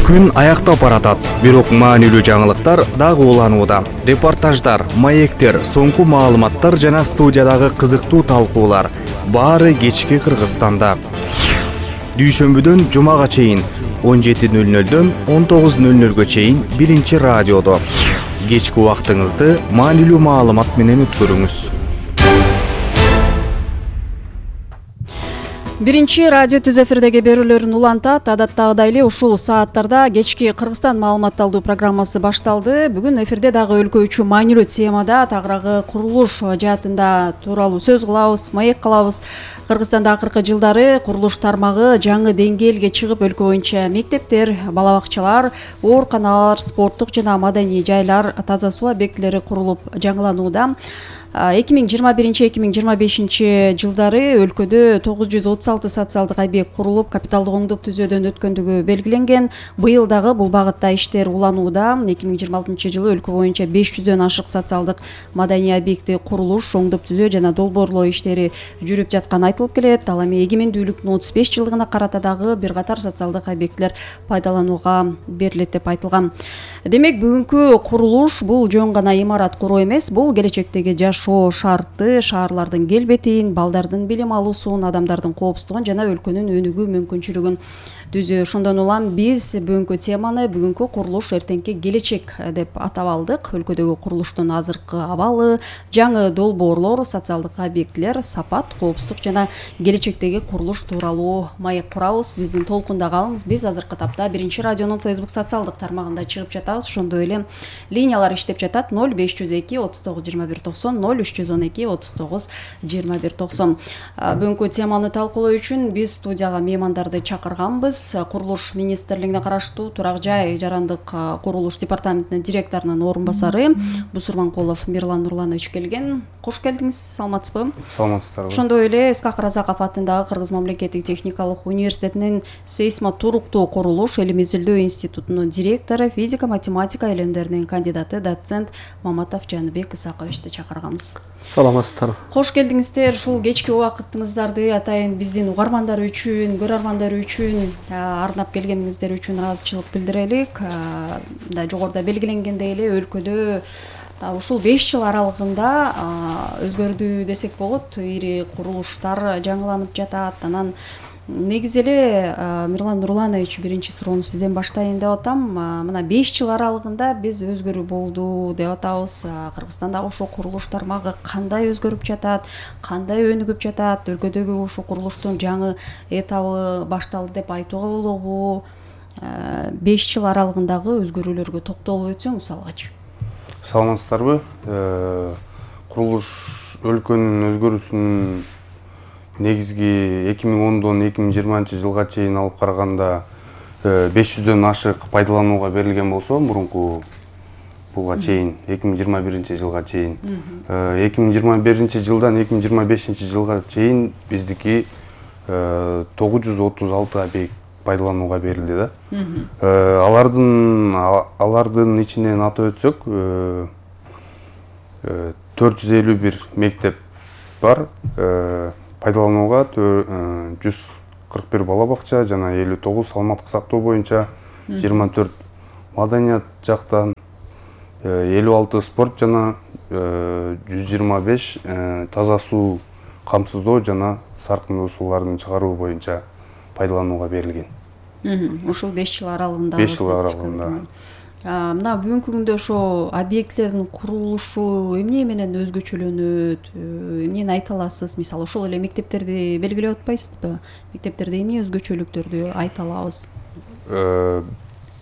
B: Күн аяктап баратат, бирок маанилүү жаңылыктар дагы уланууда. Репортаждар, маектер, соңку маалыматтар жана студиядагы кызыктуу талкуулар баары кечки Кыргызстанда. Дүйшөмбүдөн жумага чейин 17:00дөн 19:00гө чейин 1-радиодо. Кечки убактыңызды маанилүү маалымат менен өткөрүңүз.
D: 1-радио түз эфирдеги берүүлөрүн улантат. Адаттагыдай эле ушул сааттарда кечки Кыргызстан маалыматталдуу программасы башталды. Бүгүн эфирде дагы өлкө үчүн маанилүү темада тагыраагы курулуш жаатында тууралуу сөз кылабыз, маек кылабыз. Кыргызстанда акыркы жылдары курулуш тармагы жаңы деңгээлге чыгып, өлкө боюнча мектептер, бала бакчалар, ооруканалар, спорттук жана маданий жайлар, таза суу объектилери курулуп жаңыланууда. 2021-2025 жылдары өлкөдө 936 социалдык объект курулуп, капиталдык оңдоп түзөөдөн өткөндүгү белгиленген. Быйыл дагы бул багытта иштер уланууда. 2026 жылы өлкө боюнча 500дөн ашык социалдык маданий объекти курулуш, оңдоп түзөө жана долбоорлоо иштери жүрүп жатканы айтылып келет. Ал эми эгемендүүлүктүн 35 жылдыгына карата дагы бир катар социалдык объектилер пайдаланууга берилет деп айтылган. Демек, бүгүнкү курулуш бул жөн гана имарат куруу эмес, бул келечектеги жашоо шарты, шаарлардын келбетин, балдардын билим алуусун, адамдардын коопсуздугун жана өлкөнүн өнүгүү мүмкүнчүлүгүн түзүү. Ошондон улам биз бүгүнкү теманы бүгүнкү курулуш эртеңки келечек деп атап алдык. Өлкөдөгү курулуштун азыркы абалы, жаңы долбоорлор, социалдык объектилер, сапат, коопсуздук жана келечектеги курулуш тууралуу маек курабыз. Биздин толкунда калыңыз. Биз азыркы тапта 1-радионун Facebook социалдык тармагында чыгып жатабыз. Ошондой эле линиялар иштеп жатат. 0502 39 21 90, 0312 39 21 90. Бүгүнкү теманы талкуулоо үчүн биз студияга меймандарды чакырганбыз. Курулуш министрлигине караштуу Турак жай жарандык курулуш департаментинин директорунун орун басары Бусурманкулов Мирлан Нурланович келген. Кош келдиңиз, саламатсызбы?
E: Саламатсыздарбы.
D: Ошондой эле Исхак Разаков атындагы Кыргыз мамлекеттик техникалык университетинин сейсмотуруктуу курулуш илим изилдөө институтунун директору, физика математика илимдеринин кандидаты, доцент Маматов Жаныбек Исаковичти чакырганбыз.
E: Саламатсыздар.
D: Кош келдиңиздер. Ушул кечки убактыңыздарды атайын биздин угармандар үчүн, көрөрмандар үчүн арнап келгениңиздер үчүн ыраазычылык билдирелик. Да жогоруда белгиленгендей эле өлкөдө ушул 5 жыл аралыгында өзгөрдү десек болот. Ири курулуштар жаңыланып жатат. Анан Негизи эле Мирлан Нурланович, биринчи суроону сизден баштайын деп атам. Мына 5 жыл аралыгында биз өзгөрүү болду деп атабыз. Кыргызстандагы ошо курулуш тармагы кандай өзгөрүп жатат, кандай өнүгүп жатат, өлкөдөгү ошо курулуштун жаңы этабы башталды деп айтууга болобу? 5 жыл аралыгындагы өзгөрүүлөргө токтолуп өтсөңүз алгач.
E: Саламатсыздарбы? Курулуш өлкөнүн өзгөрүүсүнүн негизги 2010-дон 2020 жылга чейин алып караганда 500дөн ашык пайдаланууга берилген болсо, мурунку буга чейин 2021 жылга чейин 2021 жылдан 2025 жылга чейин биздики 936 объект пайдаланууга берилди да. Алардын ичинен атап өтсөк, 451 мектеп бар, пайдаланууга 141 бала бакча жана 59 саламаттык сактоо боюнча, 24 маданият жактан, 56 спорт жана 125 таза суу камсыздоо жана саркындуу суулардын чыгаруу боюнча пайдаланууга берилген.
D: Ошол 5 жыл аралыгында.
E: 5 жыл аралыгында.
D: Мына бүгүнкү күндө ошо объектилердин курулушу эмне менен өзгөчөлөнөт? Эмнени айта аласыз? Мисалы, ошол эле мектептерди белгилеп атпайсызбы? Мектептерде эмне өзгөчөлүктөрдү айта алабыз?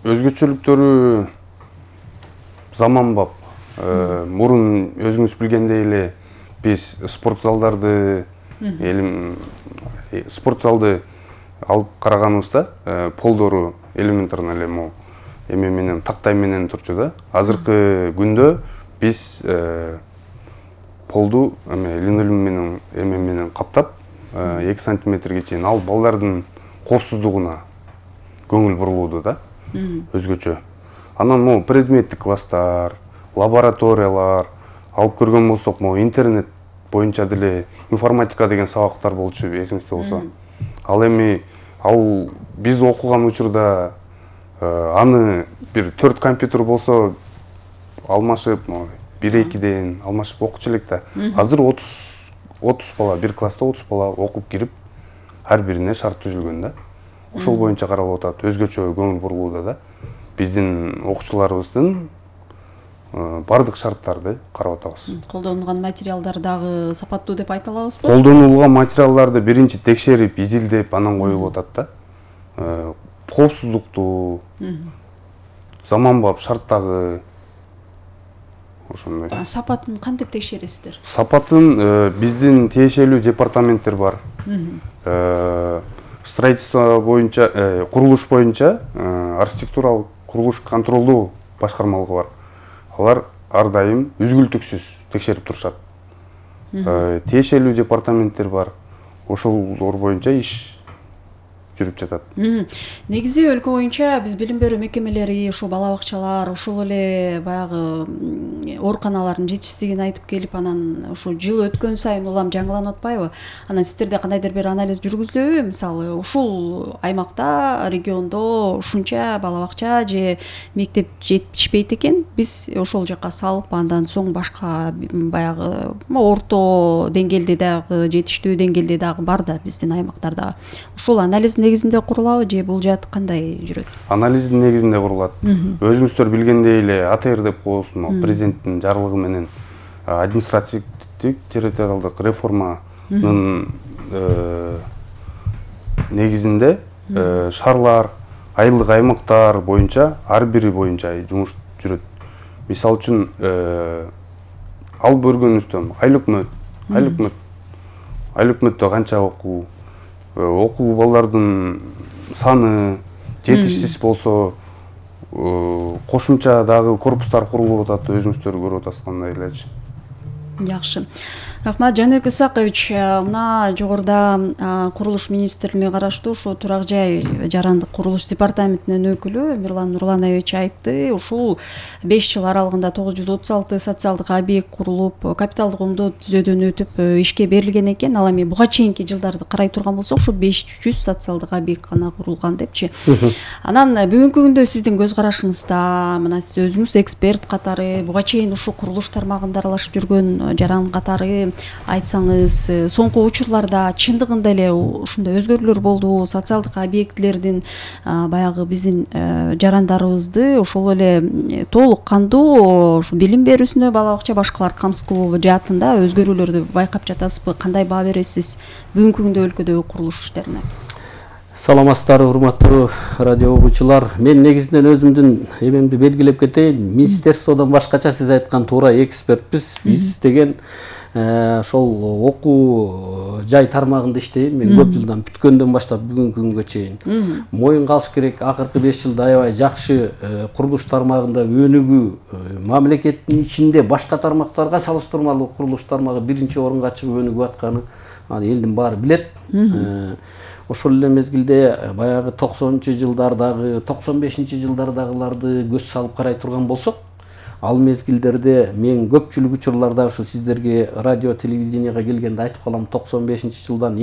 E: Өзгөчөлүктөрү заманбап. Мурун өзүңүз билгендей эле биз спорт залдарды алып караганыбызда полдору элементарно эле могу эме менен тактай менен турчу да. Азыркы күндө биз полду линолеум менен каптап 2 сантиметрге чейин ал балдардын коопсуздугуна көңүл бурулууда да. Өзгөчө. Анан могу предметтик класстар, лабораториялар алып көргөн болсок, могу интернет боюнча деле информатика деген сабактар болчу, эсиңизде болсо. Ал эми биз окуган учурда аны бир 4 компьютер болсо алмашып, 1-2ден алмашып окучу элек да. Азыр 30 бала, бир класста 30 бала окуп кирип, ар бирине шарт түзүлгөн да. Ошол боюнча каралып атат, өзгөчө көңүл бурулууда да. Биздин окуучуларыбыздын бардык шарттарды карап атабыз.
D: Колдонулган материалдар дагы сапаттуу деп айта алабызбы?
E: Колдонулган материалдарды биринчи текшерип, изилдеп, анан коюлуп атат да. Коопсуздукту, заманбап шарттагы ошондой.
D: Сапатын кантип текшересиздер?
E: Сапатын биздин тиешелүү департаменттер бар. Строительство боюнча, курулуш боюнча архитектуралык курулуш контролдоо башкармалыгы бар. Алар ар дайым үзгүлтүксүз текшерип турушат. Тиешелүү департаменттер бар. Ошолор боюнча иш жүрүп жатат.
D: Негизи өлкө боюнча биз билим берүү мекемелери, ошо бала бакчалар, ошол эле баягы ооруканалардын жетишсиздигин айтып келип, анан ошо жыл өткөн сайын улам жаңыланып атпайбы? Анан сиздерде кандайдыр бир анализ жүргүзүлөбү? Мисалы, ушул аймакта, региондо ушунча бала бакча же мектеп жетишпейт экен, биз ошол жака салып, андан соң башка баягы орто деңгээлде дагы, жетиштүү деңгээлде дагы бар да биздин аймактарда. Ушул анализ негизинде курулабы же бул жаат кандай жүрөт?
E: Анализдин негизинде курулат. Өзүңүздөр билгендей эле АТР деп коебуз, президенттин жарлыгы менен административдик территориалдык реформанын негизинде шаарлар, айылдык аймактар боюнча ар бири боюнча жумуш жүрөт. Мисалы үчүн алып көргөнүбүздөн айлыкмөттө канча окуу балдардын саны жетишсиз болсо, кошумча дагы корпустар курулуп атат, өзүңүздөр көрүп атасыз кандай элечи.
D: Жакшы. Рахмат, Жаныбек Исакович. Мына жогоруда курулуш министрлигине караштуу ушу турак жай жарандык курулуш департаментинин өкүлү Мирлан Нурланович айтты. Ушул 5 жыл аралыгында 936 социалдык объект курулуп, капиталдык оңдоо түзөөдөн өтүп ишке берилген экен. Ал эми буга чейинки жылдарды карай турган болсок, ушу 500 социалдык объект гана курулган депчи. Анан бүгүнкү күндө сиздин көз карашыңызда, мына сиз өзүңүз эксперт катары буга чейин ушу курулуш тармагында аралашып жүргөн жаран катары айтсаңыз, соңку учурларда чындыгында эле ушундай өзгөрүүлөр болду, социалдык объектилердин баягы биздин жарандарыбызды ошол эле толук кандуу ушу билим берүүсүнө бала бакча башкалар камсыз кылуу жаатында өзгөрүүлөрдү байкап жатасызбы? Кандай баа бересиз бүгүнкү күндө өлкөдөгү курулуш иштерине?
F: Саламатсыздарбы, урматтуу радио угуучулар. Мен негизинен өзүмдүн эмемди белгилеп кетейин. Министерстводон башкача сиз айткан туура экспертпиз. Биз деген ошол окуу жай тармагында иштейм. Мен көп жылдан бүткөндөн баштап бүгүнкү күнгө чейин. Моюнга алыш керек, акыркы 5 жылда аябай жакшы курулуш тармагында өнүгүү, мамлекеттин ичинде башка тармактарга салыштырмалуу курулуш тармагы биринчи орунга чыгып өнүгүп атканы элдин баары билет. Ошол эле мезгилде баягы 90-жылдардагы, 95-жылдардагыларды көз салып карай турган болсок, ал мезгилдерде мен көпчүлүк учурларда ушу сиздерге радио телевиденияга келгенде айтып калам, 95-жылдан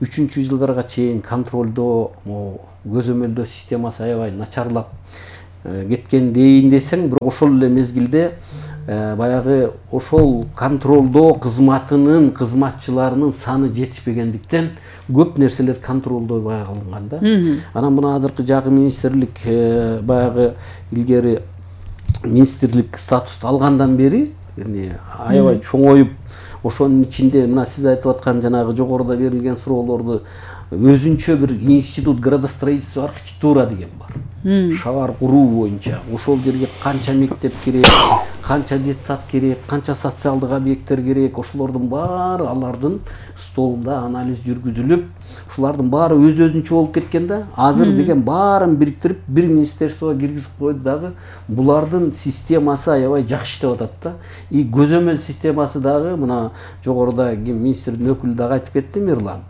F: 2003-жылдарга чейин контролдоо, көзөмөлдөө системасы аябай начарлап кеткен дейин десең, бирок ошол эле мезгилде баягы ошол контролдоо кызматынын кызматчыларынын саны жетишпегендиктен көп нерселер контролдой калынган да. Анан мына азыркы жагы министрлик баягы илгери министрлик статусту алгандан бери аябай чоңоюп, ошонун ичинде мына сиз айтып аткан жанагы жогоруда берилген суроолорду өзүнчө бир институт градостроительство архитектура деген бар. Шаар куруу боюнча ошол жерге канча мектеп керек, канча детсад керек, канча социалдык объекттер керек, ошолордун баары алардын столунда анализ жүргүзүлүп, ушулардын баары өз-өзүнчө болуп кеткен да. Азыр деген баарын бириктирип бир министерствого киргизип койду дагы. Булардын системасы аябай жакшы иштеп атат да. И көзөмөл системасы дагы мына жогоруда министрдин өкүлү дагы айтып кетти, Мирлан.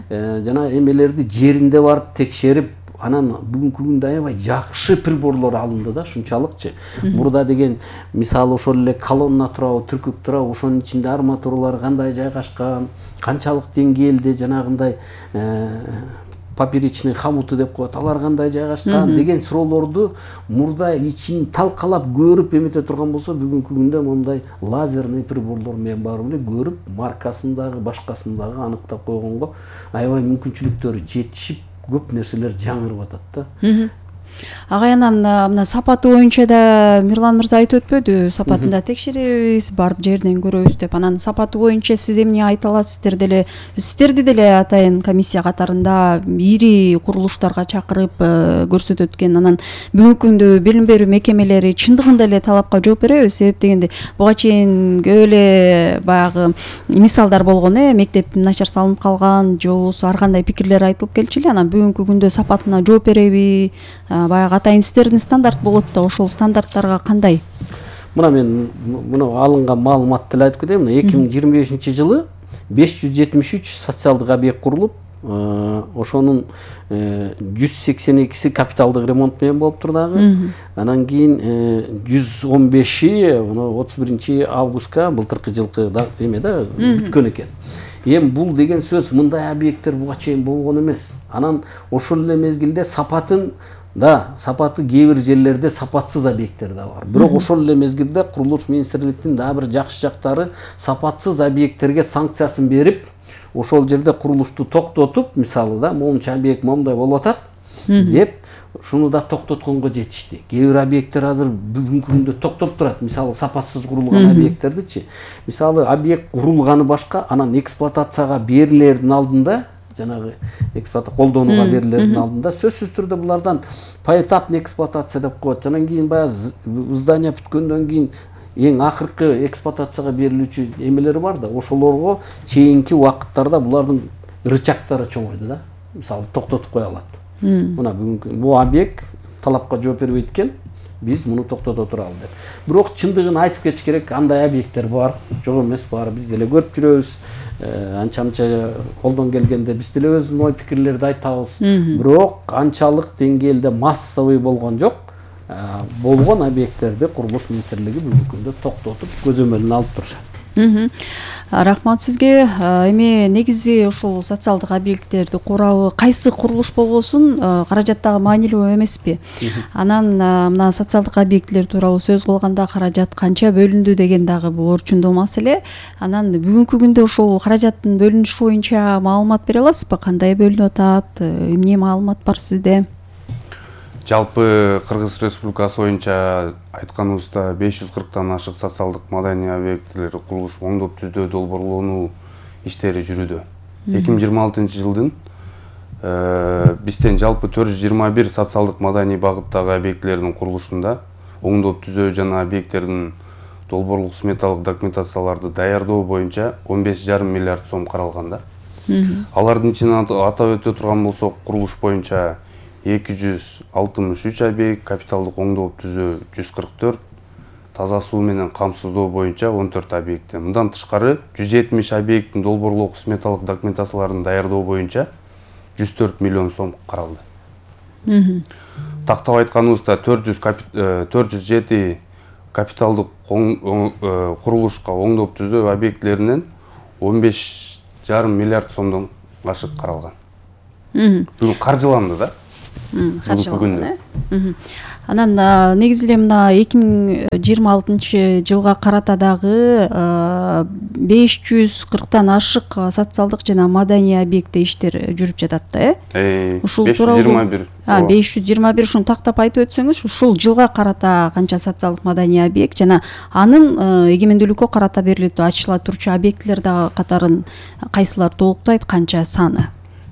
F: Жана эмелерди жеринде барып текшерип, анан бүгүнкү күндө аябай жакшы приборлор алынды да, ушунчалыкчы. Мурда деген мисалы ошол эле колонна турабы, түркүк турабы, ошонун ичинде арматуралар кандай жайгашкан, канчалык деңгээлде жанагындай поперечный хомуты деп коет, алар кандай жайгашкан деген суроолорду мурда ичин талкалап көрүп эмете турган болсо, бүгүнкү күндө мондай лазерный приборлор менен баары эле көрүп, маркасын дагы башкасын дагы аныктап койгонго аябай мүмкүнчүлүктөрү жетишип, көп нерселер жаңырып атат да.
D: Агайынан мына сапаты боюнча да Мирлан мырза айтып өтпөдү, сапатын да текшеребиз, барып жерден көрөбүз деп. Анан сапаты боюнча сиз эмне айта аласыз? Сиздерди деле атайын комиссия катарында ири курулуштарга чакырып көрсөтөт экен. Анан бүгүнкү күндө билим берүү мекемелери чындыгында эле талапка жооп береби? Себеп дегенде буга чейин көп эле баягы мисалдар болгон, мектеп начар салынып калган, же болбосо ар кандай пикирлер айтылып келчү эле. Анан бүгүнкү күндө сапатына жооп береби? Баягы атайын сиздердин стандарт болот да, ошол стандарттарга кандай?
F: Мына мен алынган маалыматты эле айтып кетейин. 2025-жылы 573 социалдык объект курулуп, ошонун 182си капиталдык ремонт менен болуптур дагы. Анан кийин 115и 31 августка былтыркы жылкы эме да бүткөн экен. Эми бул деген сөз мындай объекттер буга чейин болгон эмес. Анан ошол эле мезгилде сапаты кээ бир жерлерде сапатсыз объекттер да бар. Бирок ошол эле мезгилде курулуш министрликтин дагы бир жакшы жактары сапатсыз объекттерге санкциясын берип, ошол жерде курулушту токтотуп, мисалы да моунча объект момундай болуп атат деп, шуну да токтотконго жетишти. Кээ бир объекттер азыр бүгүнкү күндө токтоп турат, мисалы сапатсыз курулган объекттердичи. Мисалы объект курулганы башка, анан эксплуатацияга берилердин алдында, жанагы колдонууга берилердин алдында сөзсүз түрдө булардан поэтапный эксплуатация деп коет. Анан кийин баягы здание бүткөндөн кийин эң акыркы эксплуатацияга берилүүчү эмелери бар да, ошолорго чейинки убакыттарда булардын рычагтары чоңойду да. Мисалы токтотуп кое алат. Мына бүгүнкү бул объект талапка жооп бербейт экен, биз муну токтото туралы деп. Бирок чындыгын айтып кетиш керек, андай объекттер бар, жок эмес, баары биз деле көрүп жүрөбүз. Анча колдон келгенде биз деле өзүбүздүн ой пикирлерди айтабыз. Бирок анчалык деңгээлде массовый болгон жок. Болгон объекттерди курулуш министрлиги бүгүнкү күндө токтотуп көзөмөлүнө алып турушат.
D: Рахмат сизге. Эми негизи ушул социалдык объекттерди курабы кайсы курулуш болбосун каражаттагы маанилүү эмеспи? Анан мына социалдык объекттер тууралуу сөз кылганда каражат канча бөлүндү деген дагы бул орчундуу маселе. Анан бүгүнкү күндө ушул каражаттын бөлүнүшү боюнча маалымат бере аласызбы? Кандай бөлүнүп атат? Эмне маалымат бар сизде?
E: Жалпы Кыргыз Республикасы боюнча айтканыбызда 540тан ашык социалдык маданий объектилер курулуш оңдоп түздөө долбоорлонуу иштери жүрүүдө. 2026 жылдын бизден жалпы 421 социалдык маданий багыттагы объектилердин курулушунда оңдоп түзөө жана объекттердин долбоорлук сметалык документацияларды даярдоо боюнча 15,5 миллиард сом каралган да. Алардын ичинен атап өтө турган болсок, курулуш боюнча 263 объект, капиталдык оңдоп түзөө 144, таза суу менен камсыздоо боюнча 14 объект. Мындан тышкары 170 объекттин долбоорлук сметалык документацияларын даярдоо боюнча 104 миллион сом каралды. Тактап айтканыбызда 407 капиталдык курулушка оңдоп түзөө объектлеринен 15,5 миллиард сомдон ашык каралган. Бүгүн каржыланды да.
D: Каржыланды. Анан негизи эле мына 2026 жылга карата дагы 540тан ашык социалдык жана маданий объектте иштер жүрүп жатат да,
E: Ушул 521.
D: 521 ушуну тактап айтып өтсөңүз, ушул жылга карата канча социалдык маданий объект жана анын эгемендүүлүккө карата берилип ачыла турчу объектилер дагы катарын кайсылар толуктайт, канча саны?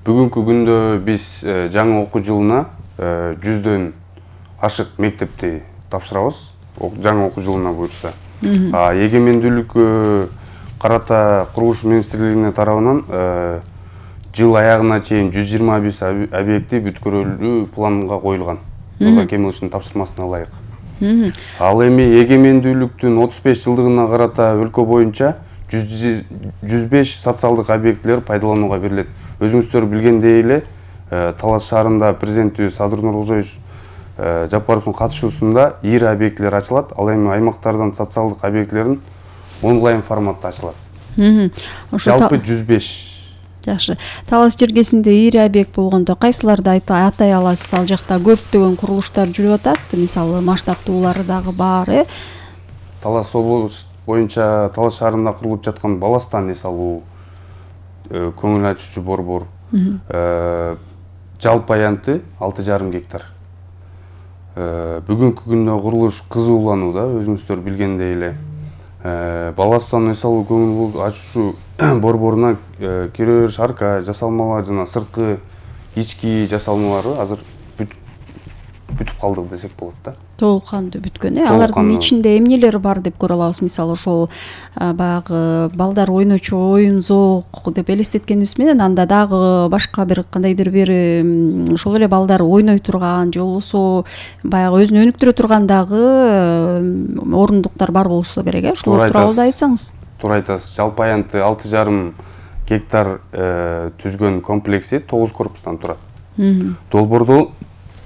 E: Бүгүнкү күндө биз жаңы окуу жылына 100дөн ашык мектепти тапшырабыз, жаңы окуу жылына буюрса. Эгемендүүлүккө карата курулуш министрлигине тарабынан жыл аягына чейин 125 объекти бүткөрүлүү планга коюлган. Тургай Кемеловичтин тапшырмасына ылайык. Ал эми эгемендүүлүктүн 35 жылдыгына карата өлкө боюнча 105 социалдык объектилер пайдаланууга берилет. Өзүңүздөр билгендей эле Талас шаарында президентибиз Садыр Нуркожоевич Жапаровдун катышуусунда ИР объектилер ачылат. Ал эми аймактардан социалдык объектилерин онлайн форматта ачылат. Жалпы 105.
D: Жакшы. Талас жергесинде ИР объект болгондо кайсыларды атай аласыз? Ал жакта көптөгөн курулуштар жүрүп атат. Мисалы масштабтуулары дагы бар,
E: Талас облус боюнча Талас шаарында курулуп жаткан Баластан эс алуу, көңүл ачуучу борбор, жалпы аянты 6,5 гектар. Бүгүнкү күндө курулуш кызууланууда, өзүңүздөр билгендей эле. Баластан эс алуу көңүл ачуучу борборуна кире бериш арка жасалмалар жана сырткы ички жасалмалары азыр бүтүп калдык десек болот да.
D: Толук кандуу бүткөн, Алардын ичинде эмнелер бар деп көрө алабыз? Мисалы ошол баягы балдар ойночу оюн зоок деп элестеткенибиз менен анда дагы башка бир кандайдыр бир ошол эле балдар ойной турган же болбосо баягы өзүн өнүктүрө турган дагы орундуктар бар болсо керек, ошолор тууралуу да айтсаңыз.
E: Туура айтасыз. Жалпы аянты 6,5 гектар түзгөн комплекси 9 корпустан турат. Долбоордо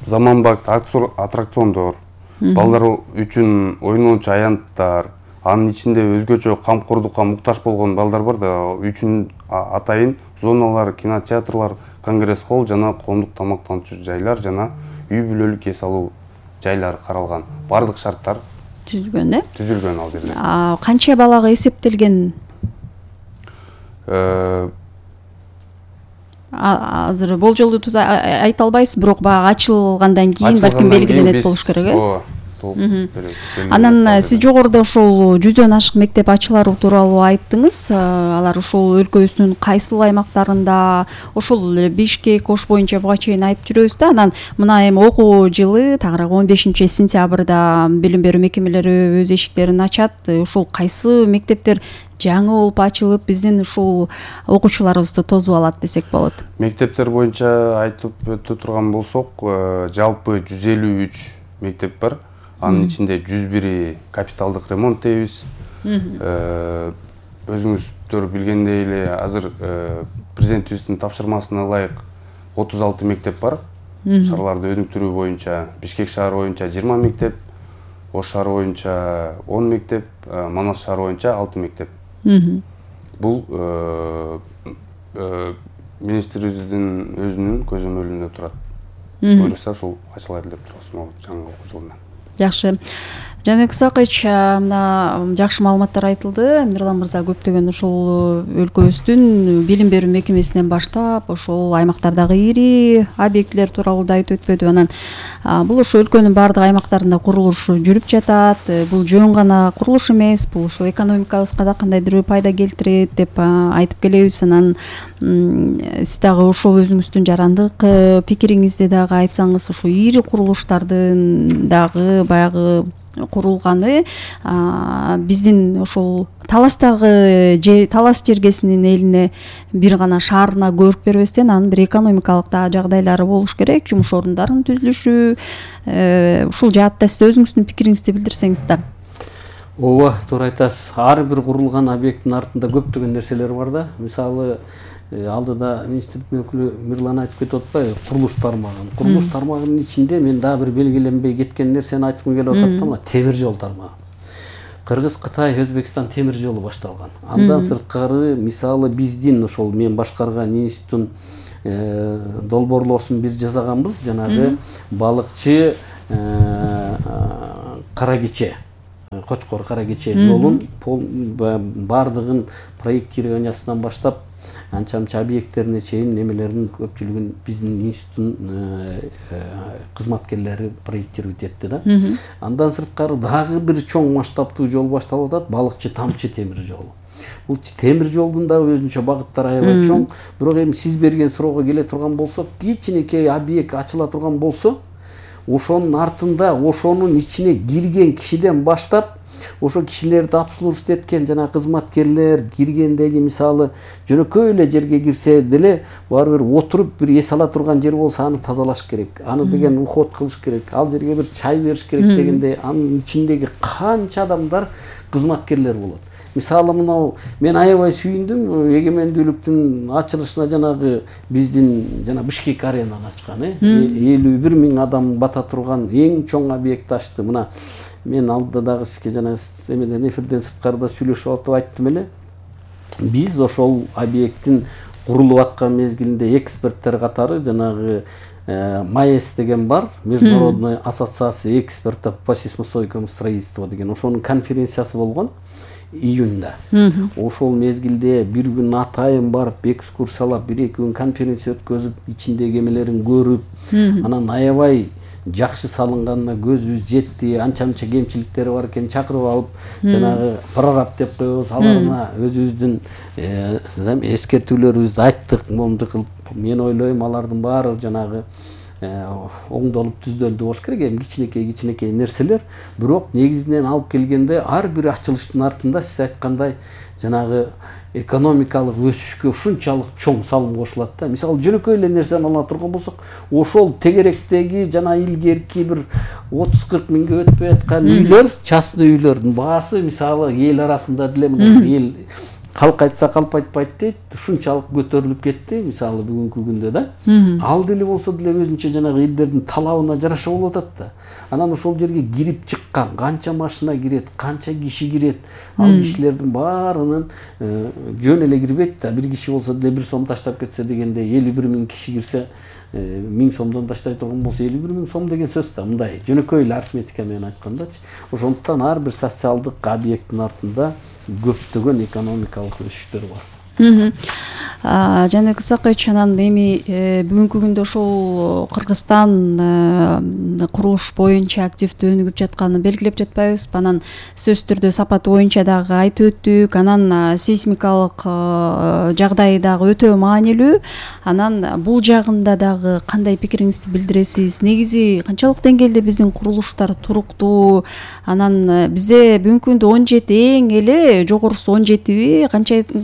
E: заманбап аттракциондор, балдар үчүн ойноочу аянттар, анын ичинде өзгөчө камкордукка муктаж болгон балдар бар да, үчүн атайын зоналар, кинотеатрлар, конгресс холл жана коомдук тамактануучу жайлар жана үй бүлөлүк эс алуу жайлары каралган. Бардык шарттар
D: түзүлгөн,
E: түзүлгөн ал жерде.
D: Канча балага эсептелген? Азыр болжолду айта албайсыз, бирок баягы ачылгандан кийин балким белгиленет болуш керек, Анан сиз жогоруда ошол 100дөн ашык мектеп ачылары тууралуу айттыңыз. Алар ошол өлкөбүздүн кайсыл аймактарында, ошол Бишкек, Ош боюнча буга чейин айтып жүрөбүз да. Анан мына эми окуу жылы тагыраагы 15 сентябрда билим берүү мекемелери өз эшиктерин ачат. Ошол кайсы мектептер жаңы болуп ачылып, биздин ушул окуучуларыбызды тосуп алат десек болот?
E: Мектептер боюнча айтып өтө турган болсок, жалпы 153 мектеп бар. Анын ичинде 101 капиталдык ремонт дейбиз. Өзүңүздөр билгендей эле азыр президентибиздин тапшырмасына ылайык 36 мектеп бар. Шаарларды өнүктүрүү боюнча Бишкек шаары боюнча 20 мектеп, Ош шаары боюнча 10 мектеп, Манас шаары боюнча 6 мектеп. Бул министрибиздин өзүнүн көзөмөлүндө турат. Буюрса ушул ачылат деп турабыз могу жаңы окуу жылынан.
D: Жакшы. Жаныбек Исакович, мына жакшы маалыматтар айтылды. Мирлан мырза көптөгөн ушул өлкөбүздүн билим берүү мекемесинен баштап ошол аймактардагы ири объектилер тууралуу да айтып өтпөдү. Анан бул ошо өлкөнүн баардык аймактарында курулуш жүрүп жатат. Бул жөн гана курулуш эмес, бул ошо экономикабызга да кандайдыр пайда келтирет деп айтып келебиз. Анан сиз дагы ошол өзүңүздүн жарандык пикириңизди дагы айтсаңыз, ошо ири курулуштардын дагы баягы курулганы биздин ошол Таластагы Талас жергесинин элине бир гана шаарына көрүп бербестен анын бир экономикалык да жагдайлары болуш керек, жумуш орундарынын түзүлүшү. Ушул жаатта сиз өзүңүздүн пикириңизди билдирсеңиз да.
F: Ооба, туура айтасыз. Ар бир курулган объекттин артында көптөгөн нерселер бар да. Мисалы, алдыда министрликтин өкүлү Мирлан айтып кетип атпайбы, курулуш тармагын. Курулуш тармагынын ичинде мен дагы бир белгиленбей кеткен нерсени айткым келип атат да, мына темир жол тармагы. Кыргыз, Кытай, Өзбекстан темир жолу башталган. Андан сырткары, мисалы, биздин ошол мен башкарган институттун долбоорлоосун бир жасаганбыз, жанагы балыкчы Кара Кече, Кочкор Кара Кече жолун баардыгын проектированиясынан баштап анча объекттерине чейин немелердин көпчүлүгүн биздин институттун кызматкерлери проектировать этти да. Андан сырткары дагы бир чоң масштабтуу жол башталып атат, балыкчы Тамчы темир жолу. Бул темир жолдун да өзүнчө багыттары аябай чоң. Бирок эми сиз берген суроого келе турган болсок, кичинекей объект ачыла турган болсо, ошонун артында ошонун ичине кирген кишиден баштап ошо кишилерди обслуживать эткен жана кызматкерлер киргендеги, мисалы, жөнөкөй эле жерге кирсе деле баары бир отуруп бир эс ала турган жер болсо аны тазалаш керек. Аны деген уход кылыш керек. Ал жерге бир чай бериш керек дегенде анын ичиндеги канча адамдар кызматкерлер болот. Мисалы, мынау мен аябай сүйүндүм, эгемендүүлүктүн ачылышына жанагы биздин жана Бишкек аренаны ачкан, 51 000 адам бата турган эң чоң объект ачты. Мына мен алдыда дагы сизге жана эмеден эфирден сырткарыда сүйлөшүп атып айттым эле. Биз ошол объекттин курулуп аткан мезгилинде эксперттер катары жанагы МАЭС деген бар, Международная ассоциация экспертов по сейсмостойкому строительству деген, ошонун конференциясы болгон июньда. Ошол мезгилде бир күн атайын барып, экскурсиялап, бир-эки күн конференция өткөзүп, ичиндеги эмелерин көрүп, анан аябай жакшы салынганына көзүбүз жетти, анча-мынча кемчиликтери бар экен чакырып алып, жанагы прораб деп коебуз, аларына өзүбүздүн эскертүүлөрүбүздү айттык, момунду кылып. Мен ойлойм, алардын баары жанагы оңдолуп түздөлдү болуш керек, эми кичинекей нерселер, бирок негизинен алып келгенде ар бир ачылыштын артында сиз айткандай жанагы экономикалык өсүшкө ушунчалык чоң салым кошулат да. Мисалы, жөнөкөй эле нерсени ала турган болсок, ошол тегеректеги жана илгерки бир 30-40 миңге өтпөй аткан үйлөр, частный үйлөрдүн баасы, мисалы, эл арасында деле эл калк айтса калп айтпайт дейт, ушунчалык көтөрүлүп кетти, мисалы, бүгүнкү күндө да. Ал деле болсо деле өзүнчө жанагы элдердин талабына жараша болуп атат да. Анан ошол жерге кирип чыккан канча машина кирет, канча киши кирет, ал кишилердин баарынын жөн эле кирбейт да. Бир киши болсо деле 1 сом таштап кетсе дегенде, 51 000 киши кирсе, 1000 сомдон таштай турган болсо 51 000 сом деген сөз да. Мындай жөнөкөй эле арифметика менен айткандачы. Ошондуктан ар бир социалдык объекттин артында көптөгөн экономикалык өсүштөр бар.
D: Жаныбек Исакович, анан эми бүгүнкү күндө ошол Кыргызстан курулуш боюнча активдүү өнүгүп жатканын белгилеп жатпайбызбы? Анан сөзсүз түрдө сапаты боюнча дагы айтып өттүк. Анан сейсмикалык жагдай дагы өтө маанилүү. Анан бул жагында дагы кандай пикириңизди билдиресиз? Негизи канчалык деңгээлде биздин курулуштар туруктуу? Анан бизде бүгүнкү күндө 17 эң эле жогорусу 17би,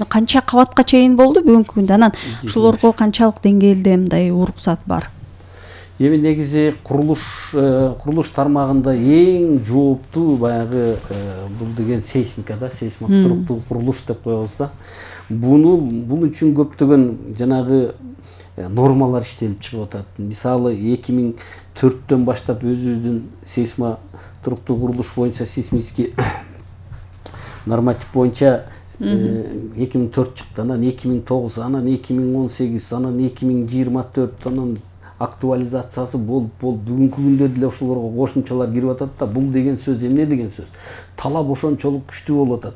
D: канча кабатка чейин болду бүгүнкү күндө? Анан ушулорго канчалык деңгээлде мындай уруксат бар?
F: Эми негизи курулуш тармагында эң жооптуу баягы бул деген сейсмика да, сейсмик туруктуу курулуш деп коебуз да. Бул үчүн көптөгөн жанагы нормалар иштелип чыгып атат. Мисалы, 2004-төн баштап өзүбүздүн сейсма туруктуу курулуш боюнча сейсмический норматив боюнча 2004 чыкты, анан 2009, анан 2018, анан 2024, анан актуализациясы болуп бүгүнкү күндө деле ошолорго кошумчалар кирип атат да. Бул деген сөз эмне деген сөз? Талап ошончолук күчтүү болуп атат.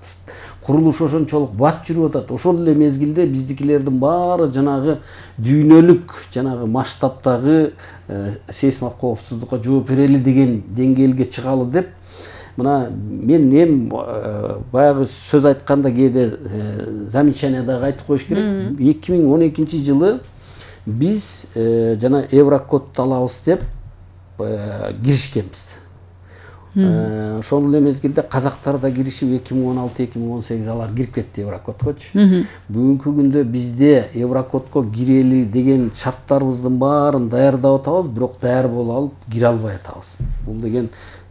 F: Курулуш ошончолук бат жүрүп атат. Ошол эле мезгилде биздикилердин баары жанагы дүйнөлүк, жанагы масштабтагы сейсмик коопсуздукка жооп берели деген деңгээлге чыгалы деп, мына мен баягы сөз айтканда кээде замечание дагы айтып коюш керек. 2012 жылы биз жана Еврокодду алабыз деп киришкенбиз. Ошол эле мезгилде казактар да киришип 2016-2018 алар кирип кетти Еврокодкочу. Бүгүнкү күндө бизде Еврокодко кирели деген шарттарыбыздын баарын даярдап атабыз, бирок даяр боло алып кире албай атабыз.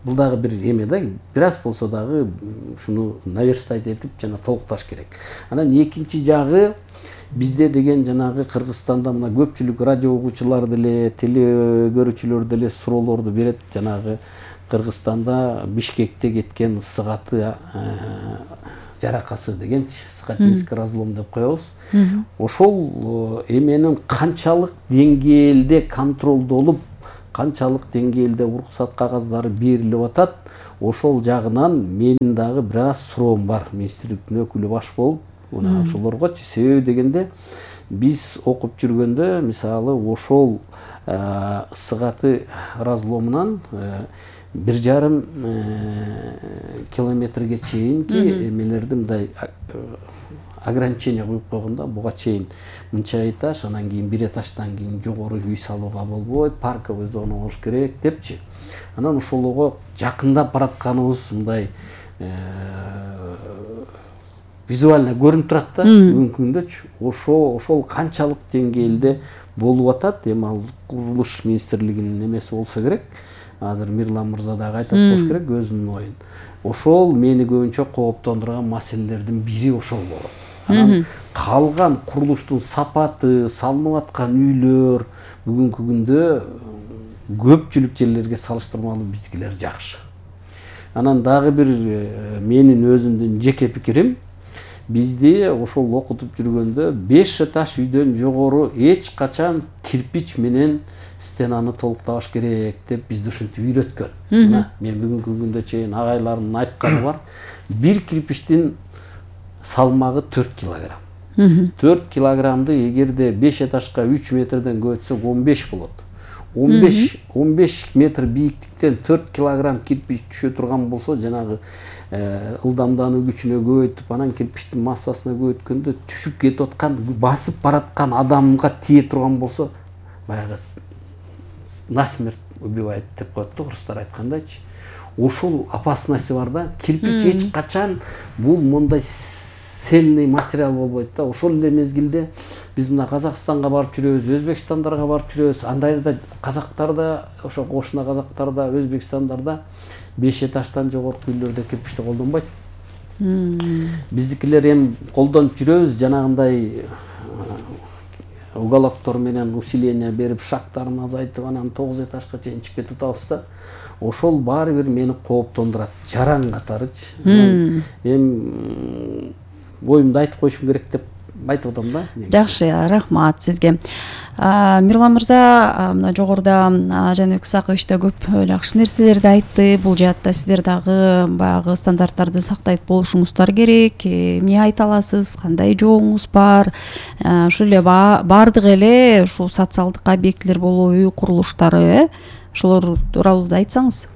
F: Бул дагы бир эме да, бир аз болсо дагы ушуну наверстать этип жана толукташ керек. Анан экинчи жагы, бизде деген жанагы Кыргызстанда мына көпчүлүк радио угуучулар деле, теле көрүүчүлөр деле суроолорду берет. Жанагы Кыргызстанда Бишкекте кеткен ысыгаты жаракасы дегенчи, Сыгатинский разлом деп коебуз. Ошол эменин канчалык деңгээлде контролдолуп, канчалык деңгээлде уруксат кагаздары берилип атат, ошол жагынан менин дагы бир аз суроом бар. Министрликтин өкүлү баш болуп, мына ошолоргочу. Себеби дегенде биз окуп жүргөндө, мисалы, ошол ысыгаты разломунан 1,5 километрге чейинки эмелерди мындай ограничение коюп койгондо, буга чейин мынча этаж, анан кийин бир этаждан кийин жогору үй салууга болбойт, парковый зона болуш керек депчи. Анан ошолого жакындап баратканыбыз мындай визуально көрүнүп турат да бүгүнкү күндөчү. Ошол канчалык деңгээлде болуп атат? Эми ал курулуш министрлигинин эмеси болсо керек. Азыр Мирлан мырза дагы айтып коюш керек өзүнүн оюн. Ошол мени көбүнчө кооптондурган маселелердин бири ошол болот. Анан калган курулуштун сапаты, салынып аткан үйлөр бүгүнкү күндө көпчүлүк жерлерге салыштырмалуу биздикилер жакшы. Анан дагы бир менин өзүмдүн жеке пикирим, бизди ошол окутуп жүргөндө 5 этаж үйдөн жогору эч качан кирпич менен стенаны толуктабаш керек деп бизди ушинтип үйрөткөн. Мен бүгүнкү күндө чейин агайлардын айтканы бар. Бир кирпичтин салмагы 4 килограмм. 4 килограммды эгерде 5 этажга 3 метрден көбөйтсөк 15 болот. 15 метр бийиктиктен 4 килограмм кирпич түшө турган болсо, жанагы ылдамдануу күчүнө көбөйтүп, анан кирпичтин массасына көбөйткөндө түшүп кетип аткан, басып бараткан адамга тие турган болсо, баягы насмерть убивает деп коет да орустар айткандайчы. Ошол опасности бар да. Кирпич эч качан бул мондай цельный материал болбойт да. Ошол эле мезгилде биз мына Казакстанга барып жүрөбүз, Өзбекстандарга барып жүрөбүз. Андайда казактарда, ошо кошуна казактарда, Өзбекстандарда 5 этаждан жогорку үйлөрдө кирпичти колдонбойт. Биздикилер эми колдонуп жүрөбүз, жанагындай уголоктор менен усиление берип, шактарын азайтып, анан 9 этажга чейин чыгып кетип атабыз да. Ошол баары бир мени кооптондурат, жаран катарычы. Эми оюмду айтып коюшум керек деп айтып атам да.
D: Жакшы, рахмат сизге. Мирлан мырза мына жогоруда Жаныбек Исакович да көп жакшы нерселерди айтты. Бул жаатта сиздер дагы баягы стандарттарды сактайт болушуңуздар керек. Эмне айта аласыз? Кандай жообуңуз бар? Ушул эле бардык эле ушул социалдык объектилер болобу, үй курулуштары, ошолор тууралуу да айтсаңыз.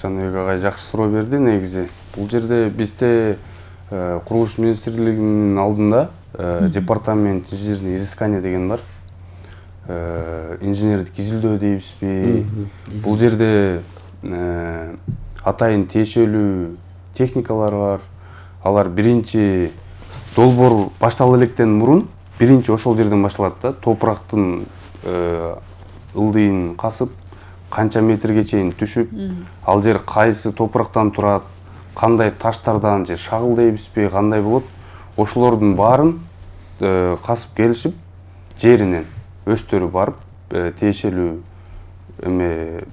E: Жаныбек агай жакшы суроо берди негизи. Бул жерде бизде курулуш министрлигинин алдында департамент инженерный изыскание деген бар. Инженердик изилдөө дейбизби? Бул жерде атайын тиешелүү техникалар бар. Алар биринчи долбоор баштала электен мурун биринчи ошол жерден башталат да. Топурактын ылдыйын касып, канча метрге чейин түшүп, ал жер кайсы топурактан турат, кандай таштардан же шагыл дейбизби, кандай болот, ошолордун баарын касып келишип, жеринен өздөрү барып, тиешелүү эме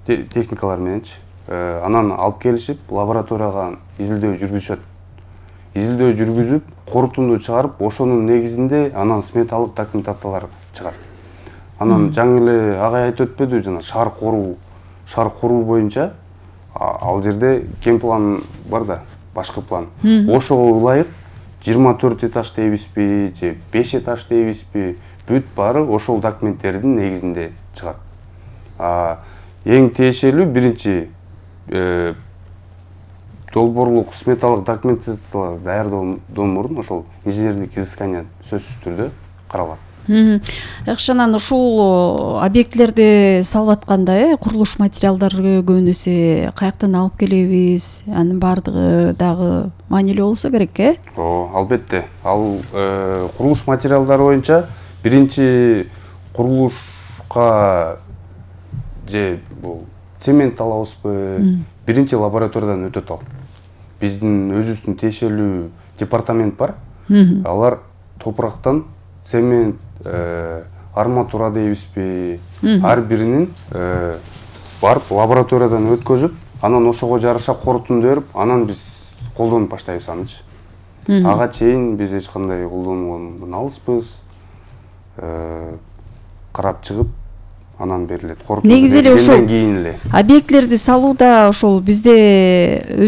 E: техникалар мененчи, анан алып келишип, лабораторияга изилдөө жүргүзүшөт. изилдөө жүргүзүп, корутунду чыгарып, ошонун негизинде анан сметалык документациялар чыгат. Анан жаңы эле агай айтып өтпөдү, жана шаар коруу боюнча ал жерде кем план бар да, башкы план. Ошого ылайык 24 этаж дейбизби, же 5 этаж дейбизби, бүт баары ошол документтердин негизинде чыгат. Эң тиешелүү биринчи долбоорлук сметалык документациялар даярдоодон мурун ошол инженердик изыскание сөзсүз түрдө каралат.
D: Жакшы, анан ушул объектилерди салып атканда курулуш материалдары көбүнесе каяктан алып келебиз? Анын баардыгы дагы маанилүү болсо керек,
E: Албетте. Ал курулуш материалдары боюнча биринчи курулушка же бул цемент алабызбы, биринчи лабораториядан өтөт ал. Биздин өзүбүздүн тиешелүү департамент бар. Алар топурактан цемент, арматура дейбизби, ар биринин барып лабораториядан өткөзүп, анан ошого жараша корутунду берип, анан биз колдонуп баштайбыз анычы. Ага чейин биз эч кандай колдонбогон алыспыз. Карап чыгып, анан берилет.
D: Негизи эле ошол объектилерди салууда ошол бизде